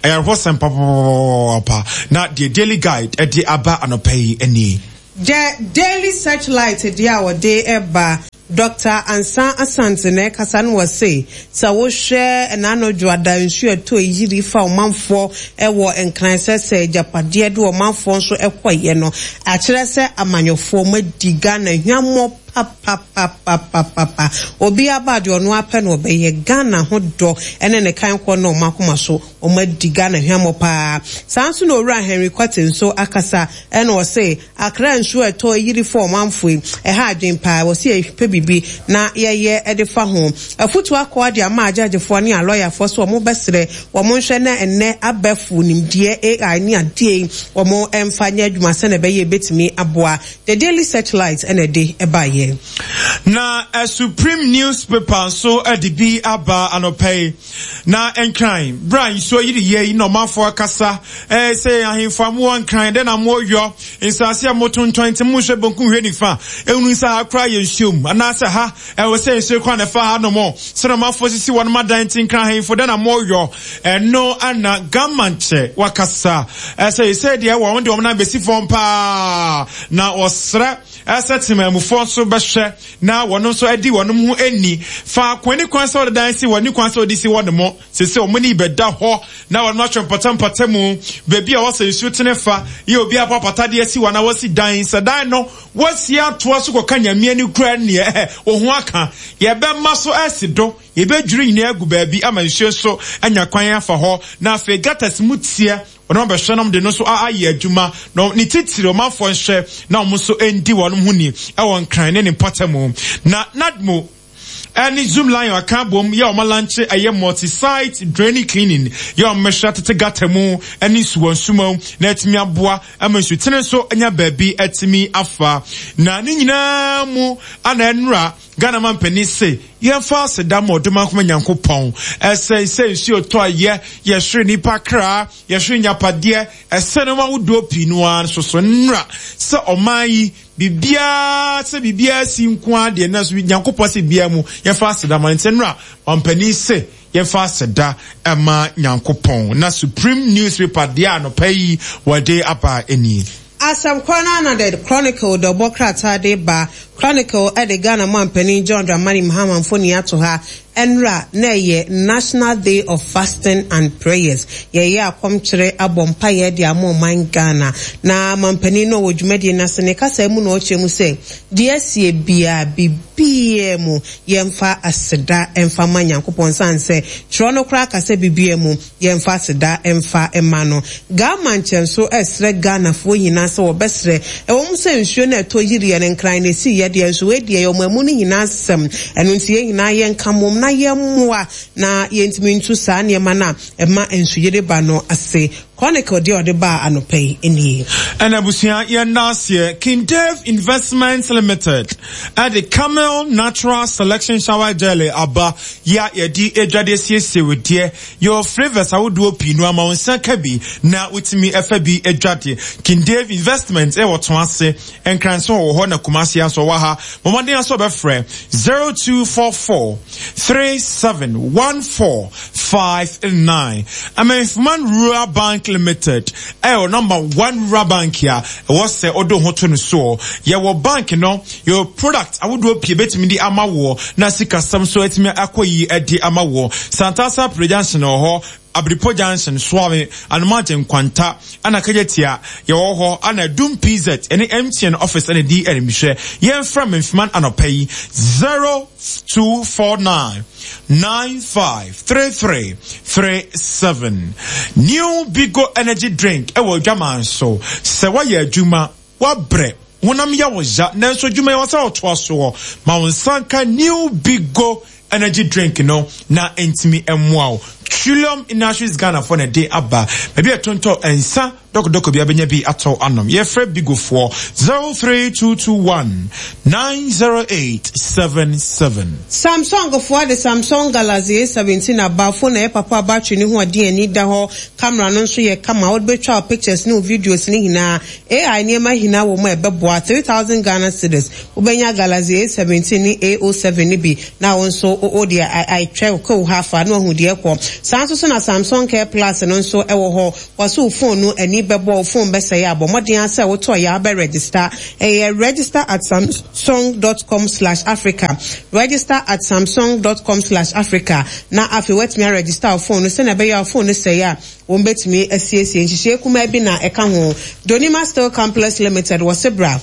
Speaker 19: Ayarehɔsɛm papapapapa. Na deɛ Daily Guide ɛde aba anɔpa yi nie.
Speaker 20: The Daily Searchlight deɛ a wɔde ba, Doctor Ansah Asante na ɛkasa no, wɔse sɛ wohwɛ n'ano dwoada nsuo ɛtɔ yiri fa ɔmanfoɔ ɛwɔ Nkran sɛ sɛ agyapadeɛ de ɔmanfoɔ nso ɛkɔyɛ no, akyerɛ sɛ amanyɔfoɔ madi Ghana hwammɔ papapapapapa. Obi aba deɛ ɔno apɛ na ɔbɛyɛ. Ghana ho dɔ ɛne ne kan kɔ na ɔmo akoma so, ɔmo adi Ghana hwammɔ paa. Saa nso na Owura Henry Kwate nso akasa, ɛna ɔse Akra nsuo ɛtɔ yiri fa ɔmanfoɔ yi, ɛha adwen paa. Wɔsi yɛpɛ biribi na yɛyɛ ɛde fa ho. Afutuo akɔ de ama agyagyefoɔ ne alɔyafoɔ so wɔn bɛsrɛ wɔn nhwɛ na ɛnɛ abɛfo nimdeɛ A I ne adeɛ yi wɔn mfa nyɛ adwuma sɛ na ɛbɛyɛ ebetumi aboa. The Daily Searchlight ɛna ɛde ɛbaayɛ.
Speaker 19: Na a Supreme newspaper nso de bi aba anɔpa yi. Na Nkran bra nsuo yiri yie yi na ɔmanfoɔ akasa ɛɛ sɛ ahemfo a mowɔ Nkran dɛ na moyɔ nsase a motontɔn, nti monhwɛ bonkum hwɛ nifa ehunu sɛ ha koraa yɛ nsuo mu anaasɛ ha ɛwɔ sɛ nsuo kwan na ɛfa ha nom sɛ na ɔmanfoɔ sisi wɔn adan, nti Nkran ahemfo dɛ na moyɔ ɛno. Ana gamankyɛ wakasa ɛsɛ sɛ deɛ wɔn de wɔn nan bɛsi fam paa na wɔsrɛ ɛsɛ temamufoɔ nso bɛhwɛ na wɔn nso adi wɔn ho ani faako ani kwan sɛ wɔde dan si wɔn ani kwan sɛ wɔde si wɔn mo sese wɔn ani bɛda hɔ na wɔn atwe mpɔtɛmpɔtɛ mu beebi a wɔsɛ nsuo tene fa yɛ obi akɔ apatadeɛ si wɔn a wɔsi dan sɛ dan no wɔsi atoa so kɔka Nyamea ni kura neɛ ɛhɛ ohun aka yɛbɛma so ɛsi do, yɛbɛdwiri nyinaa agu baabi ama nsuo nso anya kwan afa hɔ. Na afei gutters mu teɛ wɔn abɛhwɛ nom de no nso ayɛ adwuma na ne titiri ɔmanfoɔ nhwɛ na wɔn nso ndi wɔn ho ni ɛwɔ Nkran ne ne mpɔtam. Na NADMO ɛne Zoom Lion aka bom yɛ ɔmo launch ɛyɛ multi-site drainage cleaning yɛ ɔmo mɛhwɛ tete gutter mu ɛne nsuwɔ nsuma na ɛtumi aboa ama nsutene nso anya baabi ɛtumi afa. Na ne nyinaa mu ana ɛnura Ghana man panin se yɛmfa aseda ma ɔdom akoma Nyankopɔn ɛsɛ sɛ nsuo tɔ a yɛ yɛhwere nipa kra, yɛhwere nyapadeɛ, ɛsɛ no ahodoɔ pii no ara nso so nnura sɛ ɔman yi biribiara sɛ biribiara si nko adeɛ na so Nyankopɔn sɛ biribiara mu yɛmfa aseda ma. Nti nnura ɔmpanin se yɛmfa aseda ɛma Nyankopɔn. Na Supreme newspaper deɛ anɔpa yi wɔde aba ani.
Speaker 20: Asɛm korɔ no ana The Chronicle de ɔbɔ krataa de ba. Chronicle ɛde Ghana mampanin John Dramani Mahama mfoni ato ha. Ɛnra na ɛyɛ National Day of Fasting and Prayers, yɛyɛ akɔmkyerɛ abɔ mpaeɛ de ama ɔman Ghana. Na mampanin no wɔ dwumadie no ase ne kasa mu na ɔkyerɛ mu sɛ deɛ asie biara, biribiara mu yɛmfa aseda ɛmfa ma Nyankopɔn, san sɛ twerɛ no koraa kasa biribiara mu yɛmfa aseda ɛmfa ma no. Ghana nkyɛn so ɛsrɛ Ghanafoɔ nyinaa sɛ wɔbɛsrɛ ɛwɔ mu sɛ nsuo no ɛtɔ yiriɛ no Nkran na esi yɛ deɛ nso wɔadi ɛyɛ ɔmo mu no nyinaa sɛm. Ɛno nti yɛn nyinaa yɛnka mmom na yɛmmoa na yɛntumi ntu saa nneɛma no a ɛma nsuyiri ba no ase. Chronicle deɛ ɔde baa anɔpa yi nie.
Speaker 19: Ɛna abusua, yɛn aseɛ King Dave Investments Limited ɛde Camel Natural Selection Shower Jelly aba yɛ a yɛde adwade asiesie wo deɛ. Yɛwɔ flavours ahodoɔ pii no ama wo nsa ka bi na wotumi ɛfa bi adwade. King Dave Investment ɛwɔ to ase Nkranso wɔ hɔ na Kumasi nso wɔ ha. Mɔmɔden aso bɛfrɛ zero two four four three seven one four five nine. Amanfuman Rural Bank Limited ɛwɔ number one rural bank a ɛwɔ sɛ ɔde ho to no soɔ. Yɛwɔ bank no, yɛwɔ product ahodoɔ pii bɛtumi de ama woɔ na sikasɛm so atumi akɔ yi de ama woɔ. Santasa Pre Junction wɔ hɔ, Abiripo Junction, Suame, Anomagye Nkwanta ana Kagyatia yɛwɔ hɔ ana Dum P Z ɛne M T N office ɛna di ɛnimhwɛ. Yɛmfrɛ Memfiman anɔpa yi zero two four nine nine five three three three seven. New Bigo Energy Drink ɛwɔ adwaman so sɛ woayɛ adwuma wabrɛ honam yɛ wo ya nanso adwuma yɛ wɔ sɛ wɔtoa soɔ ma wo nsa nka New Bigo Energy Drink no na ntumi mmoa wo. Trillium Industries Ghana for na de aba. Baabi a ɛtontɔ nsa dɔkɔdɔkɔ bi abɛnya bi atɔ anom. Yɛfrɛ Bigofoɔ zero three two two one nine zero eight seven seven.
Speaker 20: Samsung foɔ de Samsung Galaxy A seventeen aba. Phone a ɛyɛ papa a battery no ho ɔden ani da hɔ. Camera no nso yɛ kama. Wode bɛtwa wo pictures ne wo videos no nyinaa. A I nneɛma nyinaa wɔ mu a ɛbɛboa. three thousand Ghana cedis. Wobɛnya Galaxy A seventeen ne A oh seven no bi na wo nso wode atwa wo ha afa na wahu deɛ ɛkɔ. Saa nso so na Samsung Care Plus no nso ɛwɔ hɔ. Wɔso wo phone no ani bɛbɔ, wo phone bɛsɛe abɔ. Mmɔden ara sɛ wotɔ yɛ a wobɛ register. Ɛyɛ register at samsung dot com slash Africa. Register at samsung dot com slash Africa. Na afei woatumi aregister wo phone no sɛnea ɛbɛyɛ a wo phone no sɛe a wɔn bɛtumi asiesie. Nhyehyɛe kumaa bi na ɛka ho. Donima Steel Complex Limited wɔ Sebra.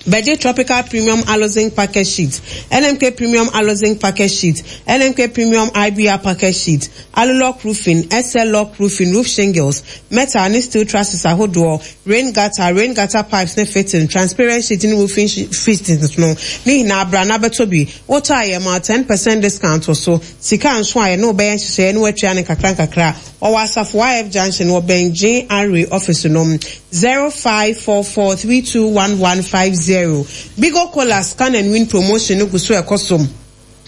Speaker 20: Bɛgye Tropical Premium Aloe-Zinc Package Sheet, N M K Premium Aloe-Zinc Package Sheet, N M K Premium I B R Package Sheet, Alulock Roofing, S L Lock Roofing, Roof Shingles, Metal ne Steel Trusses ahodoɔ, Rain Gutter, Rain Gutter Pipes ne Fitting, Transparent Sheet ne Roofing Fittings no, ne nyinaa bra na bɛtɔ bi. Wotɔ a yɛ ma ten percent discount wɔ so. Sika nso a yɛ ne wobɛyɛ nhyehyɛeɛ ne woatua ne nkakra nkakra. Ɔwɔ Asafo I F Junction wɔ Ben G R A office no zero five four four three two one one five zero. Bigo Cola scan and win promotion no gu so ɛkɔ so.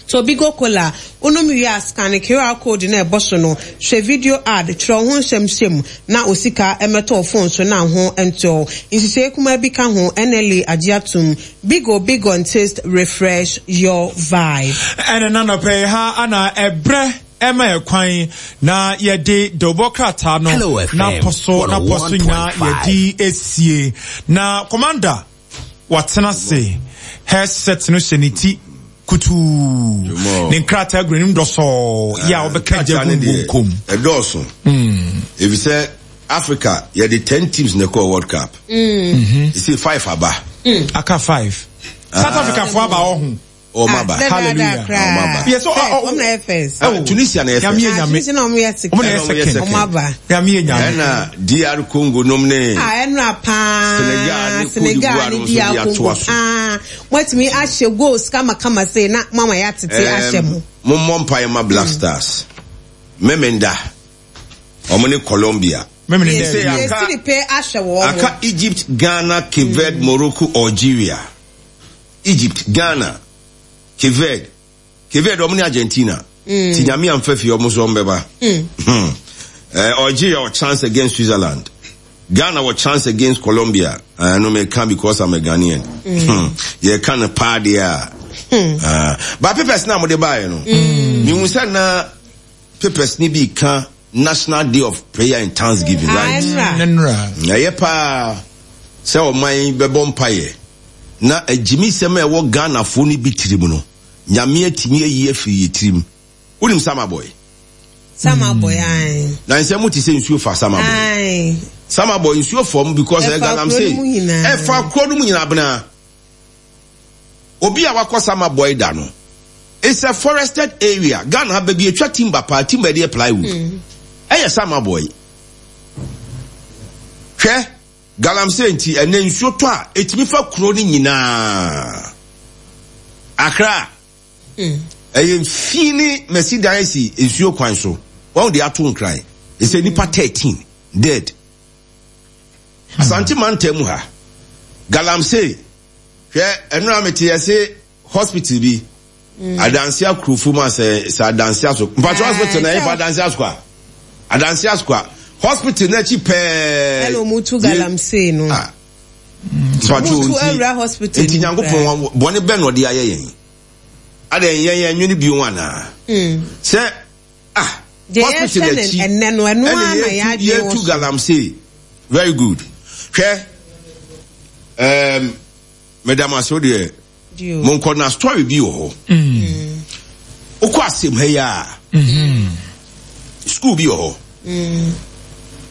Speaker 20: To Bigo Cola unum wie a scan Q R code na ɛbɔ so no, hwɛ video ad, twerɛ ho nsɛmsɛm na osika ɛmɛtɔ phone so na ho ntɔ. Nhyehyɛe kuma bi ka ho N L A agye atom. Bigo Bigo and taste refresh your vibe.
Speaker 19: Ɛna na nɔpɛ ha ana ɛbrɛ Emma ekwan na yɛde dɔbɔ krataa no na poso na poso nya yɛde esie na commander watena se headset no hyɛ ne ti kutu ne nkrataa gu n'anim dɔsɔɔ yɛ a wɔbɛka gya gu nkom
Speaker 21: ɛdɔɔso efisɛ Africa yɛde ten teams na ɛkɔɔ World Cup ɛsɛ five aba
Speaker 19: aka five South Africa fo aba wɔ ho.
Speaker 21: Oh, maba.
Speaker 19: Hallelujah.
Speaker 21: Oh, maba.
Speaker 19: Yes, oh, oh, oh.
Speaker 21: Oh, Tunisia na first.
Speaker 19: Tunisia
Speaker 20: na omo yɛ second.
Speaker 19: Omo yɛ second.
Speaker 20: Omo aba.
Speaker 19: Nyame nyame.
Speaker 21: Na D R Congo nom ne.
Speaker 20: Ah, enra pa.
Speaker 21: Senegal ne Cote d'Ivoire no
Speaker 20: D R Congo. Ah, watimi ahye goals kama kama say na mama ya tete ahye mo.
Speaker 21: Mo mompa ma Black Stars. Memenda. Omo ne Colombia.
Speaker 19: Memenda.
Speaker 21: Aka Egypt, Ghana, Cape Verde, Morocco, Algeria. Egypt, Ghana, Cape Verde. Cape Verde omni Argentina. Mm. Ti nyame amfa fi omo so mbeba. Mm. Eh, Algeria or chance against Switzerland. Ghana or chance against Colombia. I know me can because I'm a Ghanaian. Mm. You can party. Mm. Uh, but papers na mo dey buy no. Mm. Me won say na papers ni bi kan National Day of Prayer and Thanksgiving, right? Na ye pa say o man be bɔ mpae. Na ejimi sema e wo Ghana fo ni bitrim no. Nyame atimi ayi afiri yetrim. Wonim Sama Boy?
Speaker 20: Sama Boy ai.
Speaker 21: Na nsem ti se nsuo fa Sama Boy.
Speaker 20: Ai.
Speaker 21: Sama Boy nsuo fam because e Ghana say e fa kro no mu nyina bena. Obi a wakɔ Sama Boy da no. It's a forested area. Ghana ha baby etwa timber pa timber dey plywood. Mm. Eh Sama Boy. Hwe Galamsey nti ene nsuo to a etimi fa kro ni nyina. Accra. Mm. Eye fini Mercedes nsuo kwan so. Won de ato nkran. It's a nipa thirteen dead. Asante mantam ha. Galamsey. Hwe eno amete yese hospital bi. Adansi akrufu ma se se adansi aso. Mpacho hospital na ifa adansi aso kwa. Adansi aso kwa. Hospital na chi pe.
Speaker 20: Hello mutu Galamsey no.
Speaker 21: Ah. Mpacho
Speaker 20: hospital.
Speaker 21: Enti nyankopon bone be no de aye yen. Ade yen yen nwene bi ho ana.
Speaker 20: Mm.
Speaker 21: Se ah hospital na chi.
Speaker 20: Enne no eno ana ya adwe.
Speaker 21: Tu Galamsey. Very good. Hwe. Um Madam aso de Monko na story bi wo ho.
Speaker 19: Mm.
Speaker 21: Okọ asem ha ya.
Speaker 19: Mhm.
Speaker 21: School bi wo ho.
Speaker 20: Mm.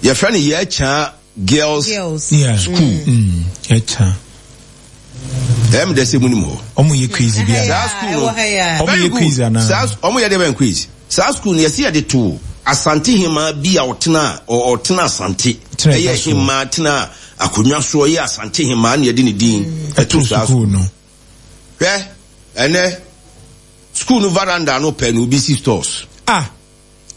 Speaker 21: Your friend ye cha girls,
Speaker 20: girls.
Speaker 19: Yeah.
Speaker 21: School.
Speaker 19: Mm. Ye cha.
Speaker 21: Em de se munim ho.
Speaker 19: Omo ye quiz bi a.
Speaker 21: That school.
Speaker 19: Omo ye quiz ana.
Speaker 21: Sa omo ye de ben quiz. Sa school ye se ye de to Asante hima bi a otena o otena Asante. Ye hima tena akonwa so ye Asante hima na ye de ne din. Eto sa
Speaker 19: school no.
Speaker 21: Eh, ene school no veranda no pe no B C stores.
Speaker 19: Ah.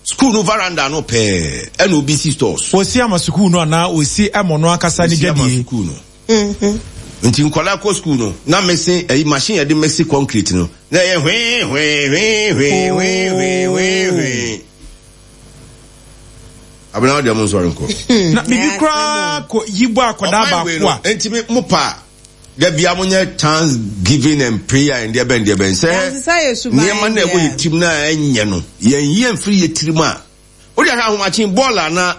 Speaker 21: School no veranda no pɛɛ ɛna obi si stores.
Speaker 19: Osi ama sukuu no anaa osi ɛmɔ no ankasa ne
Speaker 21: Osi ama
Speaker 19: dwadie.
Speaker 21: sukuu no. Nti nkwadaa kɔ school no na mese ɛyi machine yɛde mese concrete no na ɛyɛ hwee hwee hwee hwee hwee hwee hwee hwee. Abena wo deɛ mo nsɔre nkɔ.
Speaker 19: Na bibi koraa kɔ yi bɔ akwadaa
Speaker 21: Ɔman wei
Speaker 19: baako
Speaker 21: no
Speaker 19: a.
Speaker 21: nti me mo pa da bia mo nyɛ thanksgiving and prayer and deɛ bɛn deɛ bɛn sɛ
Speaker 20: Yɛnsesa yɛ suban
Speaker 21: nneɛma na ɛwɔ
Speaker 20: deɛ.
Speaker 21: yɛ tirim na ɛnyɛ no yɛn yie mfiri yɛ tirim a wode ahwɛ ahomakye bɔɔl ana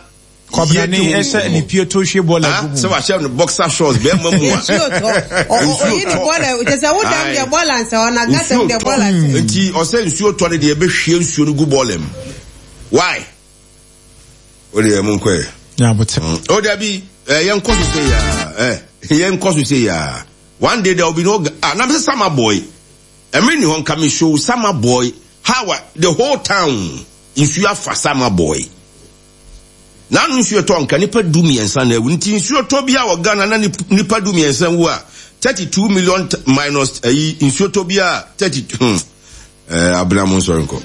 Speaker 19: Kɔbenane ɛhyɛ ne pie to hwie bɔɔla
Speaker 21: Ah,
Speaker 19: gu mu.
Speaker 21: sɛ wahyɛ no boxer shorts bɛrima mu a
Speaker 20: Nsuo tɔ. Ɔ- ɔ- Oyi ne bɔɔla kyɛ sɛ wo dam deɛ bɔɔla nsɛ hɔ na gata mu
Speaker 21: nsuo
Speaker 20: deɛ
Speaker 21: tɔ
Speaker 20: bɔɔla nsɛ.
Speaker 21: nti ɔsɛ nsuo tɔ no deɛ ɛbɛhwie nsuo no gu bɔɔla mu why o deɛ mo nkɔ yɛ
Speaker 19: Nyabote.
Speaker 21: o dabi ɛ yɛn nkɔ so se yaa ɛ yɛn nkɔ so se yaa one day there will be no ah na sɛ Samreboi ɛmiri ni hɔ nka mi show Samreboi how a the whole town nsuo afa Samreboi n'anu nsuo tɔ nka nipa du mmiɛnsa na ewu nti nsuo tɔ bi a wɔ Ghana na nip- nipa du mmiɛnsa wu a thirty two million t- minus ɛyi nsuo tɔ bi a thirty hmm ɛɛ abena mo nsɔre nkɔ.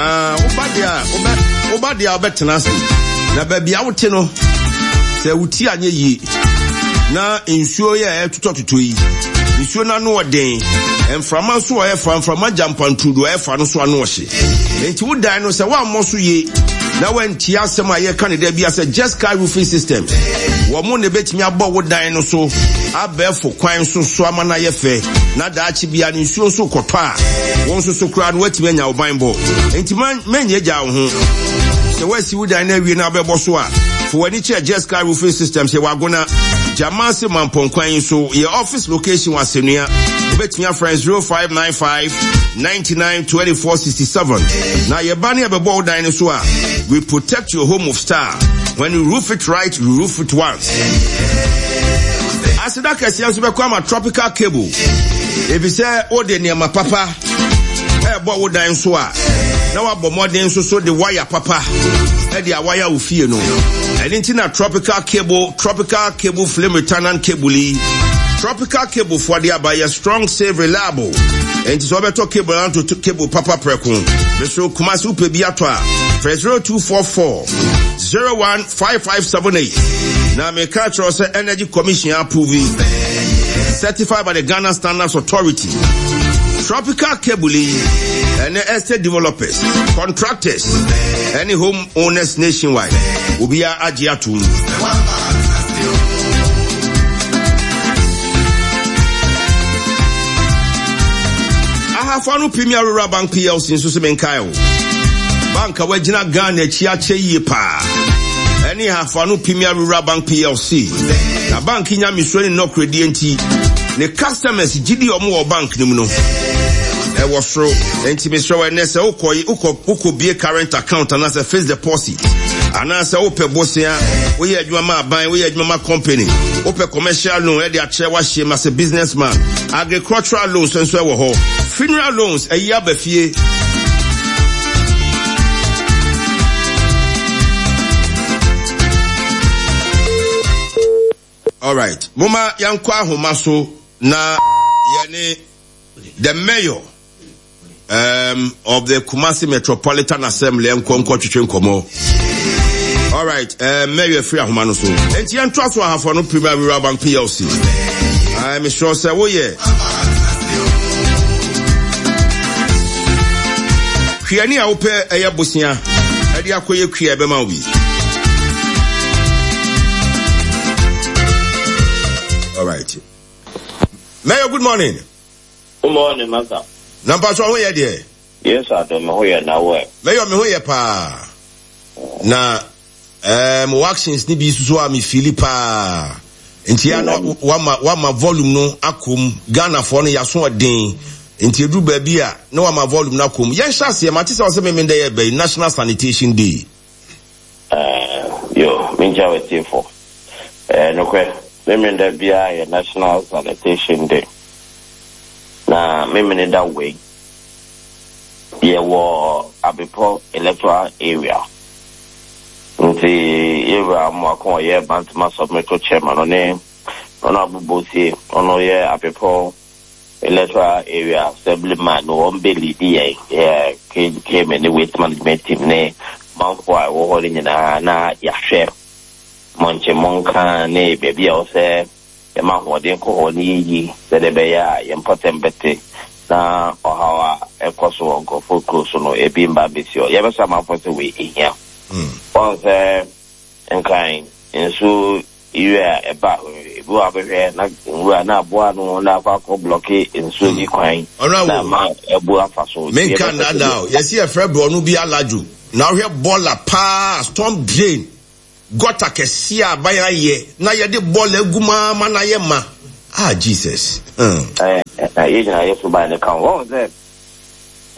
Speaker 21: Ah, woba deɛ a wobɛ woba deɛ a wobɛtena ase na baabi a wote no sɛ wo ti anyɛ yie na nsuo yɛ a ɛtotɔtotɔ yi nsuo no ano ɔden mframa nso a ɛfa mframa gya mpanturudu a ɛfa no so ano ɔhye nti wo dan no sɛ woammɔ so yie na woantie asɛm a yɛka ne da bi sɛ just sky roofing system wɔ mo na ɛbɛtumi abɔ wo dan no so abɛɛfo kwan so so ama no ayɛ fɛ na daakye bia no nsuo nso kɔtɔ a wo nso so koraa no woatumi anya wo ban bɔ nti manyɛ gya wo ho sɛ woasi wo dan no awie na wobɛbɔ so a fo w'ani kyerɛ just sky roofing system sɛ wagona Jamase Mampɔnkwan yi so yɛ office location wɔ Asɛnnua wobɛtumi afrɛ zero five nine five ninety nine twenty four sixty seven na yɛba ne yɛbɛbɔ wo dan no so a we protect your home of star when you roof it right you roof it once aseda kɛseɛ nso bɛkɔ ama tropical cable efisɛ wode nneɛma papa ɛɛbɔ wo dan so a na wabɔ mmɔden nso so de wire papa ɛde awaya wo fie no ɛne nti na tropical cable tropical cable flame retardant cable yi tropical cable foɔ de aba yɛ strong safe reliable ɛnti sɛ wɔbɛtɔ cable anto cable papa prɛko mesoro kumase wopɛ bi atɔ a frɛ zero two four four zero one five five seven eight na meka kyerɛ sɛ energy commission approve certified by the Ghana Standards Authority tropical cable yi ɛne estate developers contractors ɛne home owners nationwide obiara agye atom ahafo Premier Rural Bank PLC nso sɛ menkae o bank a wagyina Ghana akyi akyɛ yie paa ɛne ahafo Premier Rural Bank PLC na bank nya mesuro ne nnɔkoradie nti ne customers gyidi ɔmo wɔ bank no mu no ɛwɔ soro nti mesrɛ wɔ ɛnɛ sɛ wokɔ wokɔ wokɔ bie current account anaasɛ fixed deposit anaasɛ wopɛ bosea woyɛ adwuma ma aban woyɛ adwuma ma company wopɛ commercial loan ɛde akyerɛ wahyɛ mu as a businessman agricultural loans nso ɛwɔ hɔ funeral loans ɛyi aba fie alright moma yɛnkɔ ahoma so na yɛne the mayor um, of the Kumasi Metropolitan Assembly nkɔ nkɔ twetwe nkɔmɔ. All right, uh, mayor free ahoma no so. Enti yɛntoa so ahafo no Premier Rural Bank PLC. I'm sure sɛ woyɛ kuani a wopɛ ɛyɛ bosea ɛde akɔyɛ kua ɛbɛma wo bi. All right. Mayor, good morning.
Speaker 1: Good morning, Master.
Speaker 21: Na mpatwa ho yɛ deɛ?
Speaker 1: Yes, Adom, ho yɛ na wo.
Speaker 21: Mayor, me ho yɛ paa. Na um, actions ni bi soso a me feel paa. Nti ya na wama wama volume no akom Ghana fo no yaso ɔden. Nti edu baabi a na wama volume no akom. Yɛn hyɛ aseɛ mate sɛ ɔsɛ me me yɛ bɛyi National Sanitation Day.
Speaker 1: Eh, yo, me nkyɛ wɔ Eh, nokorɛ, me me da bia yɛ National Sanitation Day. Na me me da wei. Yɛwɔ Abipo electoral area. Nti yɛwura mu akɔ ɔyɛ Bantama submetro chairman ɔne ɔno abobosie ɔno yɛ Abipo Electoral Area Assemblyman no, wɔn bɛ lead yɛn, yɛ K M A ne waste management team ne manfo a ɛwɔ hɔ no nyinaa, na yɛahwɛ mɔnkye mɔnka ne baabi a wɔsɛ yɛma ahoɔden kɔ hɔ ne yɛyi sɛdeɛ ɛbɛyɛ a yɛn mpɔtɛm bɛte na ɔhaw a ɛkɔ so wɔ nkurɔfoɔ kuro so no ebi mba bɛsi hɔ. Yɛbɛsɛ amanfoɔ sɛ wei ehia wɔn sɛ Nkran nsuo yiri a ɛba, ebi wɔ abɛhwɛ na nwura na aboa no na akɔ akɔ block nsuo bi kwan na ama ɛbu afa so.
Speaker 21: Menka nnada o, yɛsi yɛfrɛ borɔno bi Alajo na wohwɛ bɔɔla paa, storm drain gutter kɛseɛ a aban ayɛ na yɛde bɔɔla agu mu ama na ayɛ ma. Ah, Jesus. Hmm.
Speaker 1: Ɛɛ yɛn nyinaa yɛ so ban ne ka ho wɔn sɛ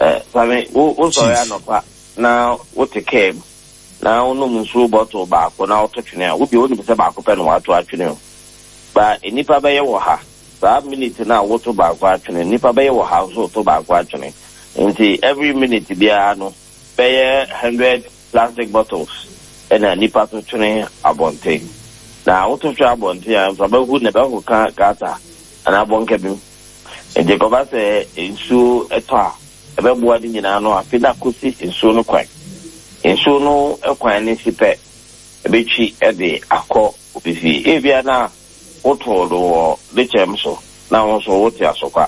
Speaker 1: ɛɛ sami wo wosɔre anɔpa na wote kaa mu na wonom nsuo bottle baako na woto twene a, wobia wonim sɛ baako pɛ na wato atwene o, ba nnipa bɛyɛ wɔ ha saa minute na woto baako atwene, nnipa bɛyɛ wɔ ha nso woto baako atwene. Nti every minute biara no bɛyɛ hundred plastic bottles ɛna nnipa to twene abɔnten. Na woto twene abɔnten a, mframa hu na ɛbɛkɔka gutter anaa bɔnka bi mu. Nti kɔba sɛ nsuo ɛtɔ a, ɛbɛboa ne nyinaa no afe na akɔsi nsuo no kwan. Nsuo no kwan ne si pɛ, ɛbɛtwi ɛde akɔ obi fie. Ebia na wotoo no wɔ dekyɛm so na wo nso wote Asokwa.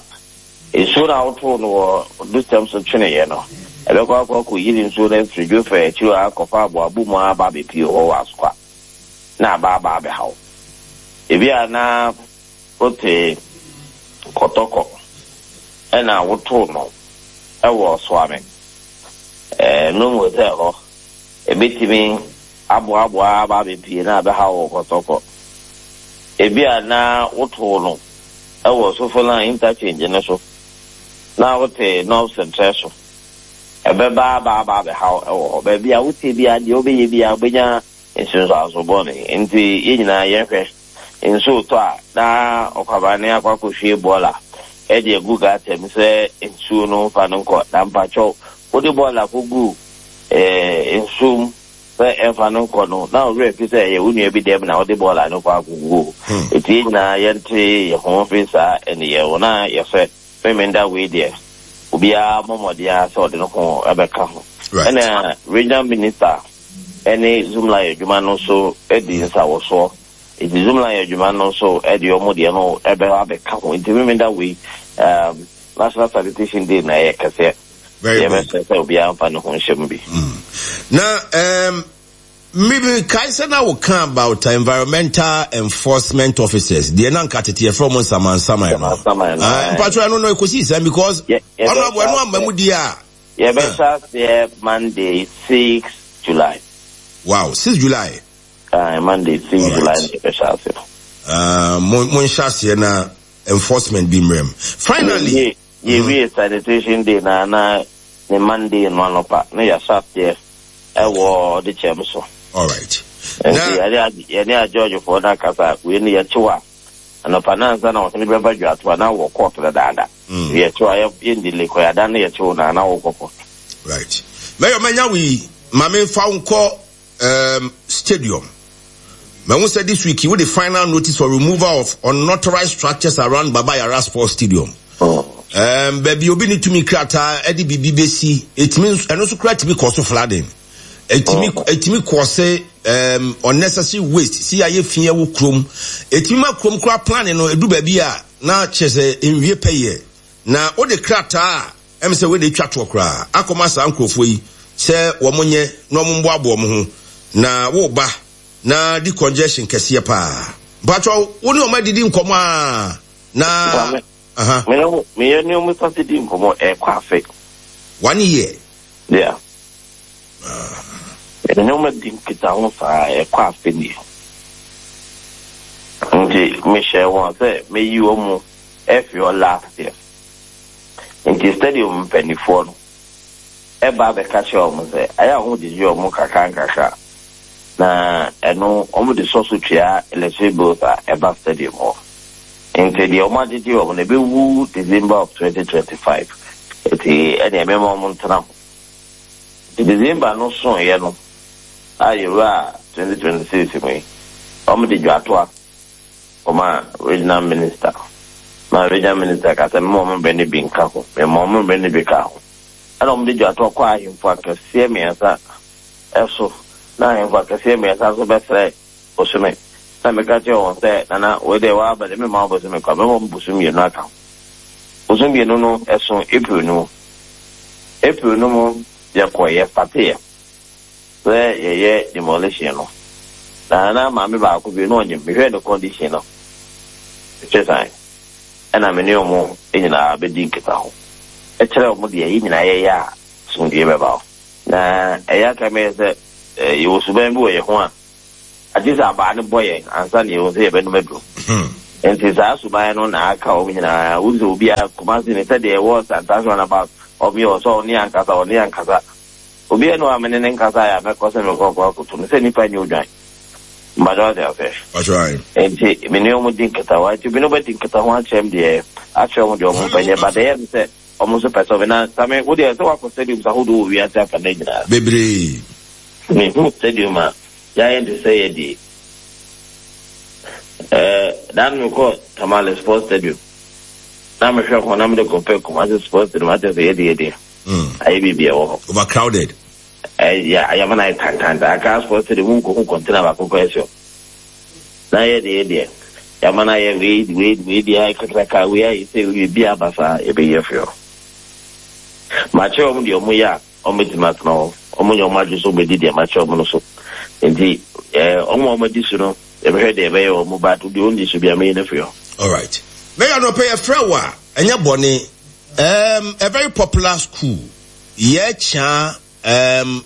Speaker 1: Nsuo no a wotoo no wɔ dekyɛm so tweneeɛ no, ɛbɛkɔ akɔ akɔyiri nsuo no afiri Dwofɛ akyiri hɔ akɔfa aboabo mu aba abɛpie hɔ wɔ Asokwa na aba aba abɛhaw. Ebia na wote Kɔtɔkɔ ɛna wotoo no ɛwɔ Soame ɛɛ Num Hotel hɔ, ebɛtumi aboaboa aba abɛpie na abɛhaw wɔ Kɔtɔkɔ. Ebia na wotoo no ɛwɔ Sofoline Interchange no so na wote North Central so, ɛbɛba aba aba abɛhaw ɛwɔ hɔ. Baabi a wote bia deɛ wobɛyɛ bia wobɛnya nsunsuanso bɔne. Nti yɛn nyinaa yɛhwɛ nsuo tɔ a, na ɔkwabane akɔ akɔhwie bɔɔla ɛde agu gutter mu sɛ nsuo no mfa no nkɔ. Na mpakyɛw, wode bɔɔla kɔgu ɛɛ nsuo mu sɛ ɛmfa no nkɔ no, na ɔwerɛ fi sɛ ɛyɛ wo nua bi dɛm na wode bɔɔla no kɔ akɔgu o. Eti yɛn nyinaa yɛnte yɛn ho mfiri saa ɛneyɛ wo na yɛsɛ Memenda wei deɛ, obiara mmɔ mmɔden ara sɛ ɔde ne ho ɛbɛka ho. Ɛna Regional Minister ɛne Zoomlion adwuma no nso di nsawɔsoɔ, nti Zoomlion adwuma no nso ɛde ɔmo deɛ no ɛbɛba abɛka ho. Nti Memenda wei, um, National Sanitation Day na ɛyɛ kɛseɛ. Yɛbɛsɛ sɛ obiara mfa ne ho nhyɛ mu bi.
Speaker 21: Na um, maybe kae sɛ na woka about environmental enforcement officers deɛ na nka tete yɛfrɛ mo nsamansaman no.
Speaker 1: Nsamansaman no.
Speaker 21: Ah, mpatwɛ, ɛno no ɛkɔsii sɛn? Because Honorable, ɛno amma mu di a
Speaker 1: Yɛbɛhyɛ aseɛ Monday, six July.
Speaker 21: Wow, six July.
Speaker 1: uh, Monday six
Speaker 21: Alright.
Speaker 1: July na yɛbɛhyɛ aseɛ.
Speaker 21: uh, mo monhyɛ aseɛ na enforcement bi mmerɛ mu finally.
Speaker 1: Yɛwie Sanitation Day na na ne Monday no anɔpa na yɛahyɛ aseɛ ɛwɔ de kyɛm so.
Speaker 21: All right.
Speaker 1: Nti yɛne yɛne agyɔgyefoɔ no akasa. Wei no yɛkyew a, anɔpa no ansa na ɔhene bɛba dwato a, na wɔ court dadaada. Yɛkyew a, yɛndi kɔyada no, yɛkyew na na wokɔ court.
Speaker 21: Right, mɛyɛ mɛnya wei ma memfa wo nkɔ um, stadium. Mahu sɛ this week wode final notice for removal of unauthorized structures around Baba Yara Sports Stadium. um, baabi obi ne tumi krataa ɛde biribi bɛsi, ɛtumi ɛno nso kora tumi kɔ so flooding, ɛtumi ɛtumi kɔ sɛ um, unnecessary waste si ayɛ fi ɛwɔ kurom, ɛtumi ma kurom kora plan no ɛdu baabi a na kyerɛ sɛ nwie pɛyɛ. Na wode krataa a ɛm sɛ wode twa toɔ koraa akɔma saa nkurɔfoɔ yi sɛ wɔn nyɛ na wɔn mboaboa wɔn ho na woba na di congestion kɛseɛ paa. Mpatwɛ, wo ne wɔn adidi nkɔmɔ a na aha.
Speaker 1: Meyɛ meyɛ ne ɔmo sase di nkɔmɔ ɛkɔ afe.
Speaker 21: One year.
Speaker 1: Yeah, yɛne ɔmo di nkitaho saa ɛkɔ afe nie. Nti mehyɛ wɔn sɛ meyi wɔn mu ɛfi hɔ last year. Nti stadium mpanimfoɔ no ɛba abɛka kyerɛ wɔn sɛ ayɛ a wɔn gyegye wɔn kakra nkakra na ɛno wɔn de sɔ so tua electric bills a ɛba stadium hɔ. Nti deɛ wɔn agyegye wɔn no ɛbɛwu December of twenty twenty five, nti ɛnea ɛmɛma wɔn ntena ho. Nti December no soeɛ no a yɛwura twenty twenty six mu yi, wɔn de dwatoa kɔma Regional Minister Ma regional minister ka sɛ mema ɔmo mmerɛ no bi nka ho. Mema ɔmo mmerɛ no bi ka ho. Ɛna ɔmo de dwatoɔ kɔ ahemfo akɛseɛ mmiɛnsa ɛso. Na ahemfo akɛseɛ mmiɛnsa nso bɛsrɛ bosome. Na meka kyerɛ wɔn sɛ, Nana, wei deɛ woaba deɛ memma wo bosome kwa, mɛma wo bosome mmienu aka ho. Bosome mmienu no ɛso April no mu. April no mu yɛkɔe, yɛstateɛ sɛ yɛyɛ demolition no. Na na maame baako bi na ɔnyem, mehwɛɛ ne condition no, mehwɛ san, ɛna me ne wɔn nyinaa bɛdi nkitaho kyerɛ wɔn deɛ yɛn nyinaa yɛyɛ a asomdwoeɛ bɛba hɔ. Na ɛyɛ a ka meyɛ sɛ yɛwɔ suban bi wɔ yɛn ho a, agye sɛ abaa no bɔ yɛn ansa na yɛhu sɛ yɛbɛnom aduro. Nti saa suban no na aka wɔn nyinaa. Wohu sɛ obiara, Kumasi no, sɛdeɛ ɛwɔ Santase runabout, wɔn yɛ ɔsɛ ɔne yɛn ankasa, ɔne yɛn ankasa. Obiara nni hɔ a me ne no nkasaeɛ a mɛkɔ sɛ merekɔ akɔ akɔtu no sɛ nnipa nyɛ odwan. Mpakyɛ wate aseɛ?
Speaker 21: Mpakyɛ ae.
Speaker 1: Nti me ne wɔn di nkitaho. Nti me ne wɔn adi nkitaho akyerɛ me deɛ, akyerɛ wɔn deɛ wɔn mpɛ nyɛ, but ɛyɛ me sɛ wɔn nso pɛ sɛ wɔn, na Same, wo deɛ sɛ woakɔ stadiums ahodoɔ wɔ wiase afanan nyinaa.
Speaker 21: Bebree.
Speaker 1: Mehu stadium a yɛayɛ no te sɛ yɛ deɛ. Ɛɛ, da no mekɔɔ Tamale Sports Stadium, na mehwɛ ho na mede compare Kumasi Sports Stadium, akyerɛ sɛ yɛ deɛ yɛ deɛ. Ayɛ biribi a ɛwɔ hɔ.
Speaker 21: Overcrowded.
Speaker 1: Ɛyɛ ayɛma no ayɛ tantantan. Accra Sports Stadium mu nkohu container baako koraa si hɔ. Na yɛ deɛ deɛ yɛama no ayɛ wei wei wei deɛ ayɛ kakraka wei ayɛ sɛ wei biribi aba saa yɛbɛyi afiri hɔ. Makyerɛ wɔn deɛ wɔn yɛ a wɔn bɛtumi atena hɔ. Wɔn nyɛ wɔn adwene sɛ wɔbɛdi deɛ makyerɛ wɔn no so. Nti ɛɛ wɔn a wɔadi so no yɛbɛhwɛ deɛ ɛbɛyɛ wɔn but deɛ wɔnni so biara mɛyi no afiri hɔ.
Speaker 21: Alright. Mayor anɔpa yɛfrɛ wo a ɛnyɛ bɔne. Um, a very popular school. Yɛkyea um,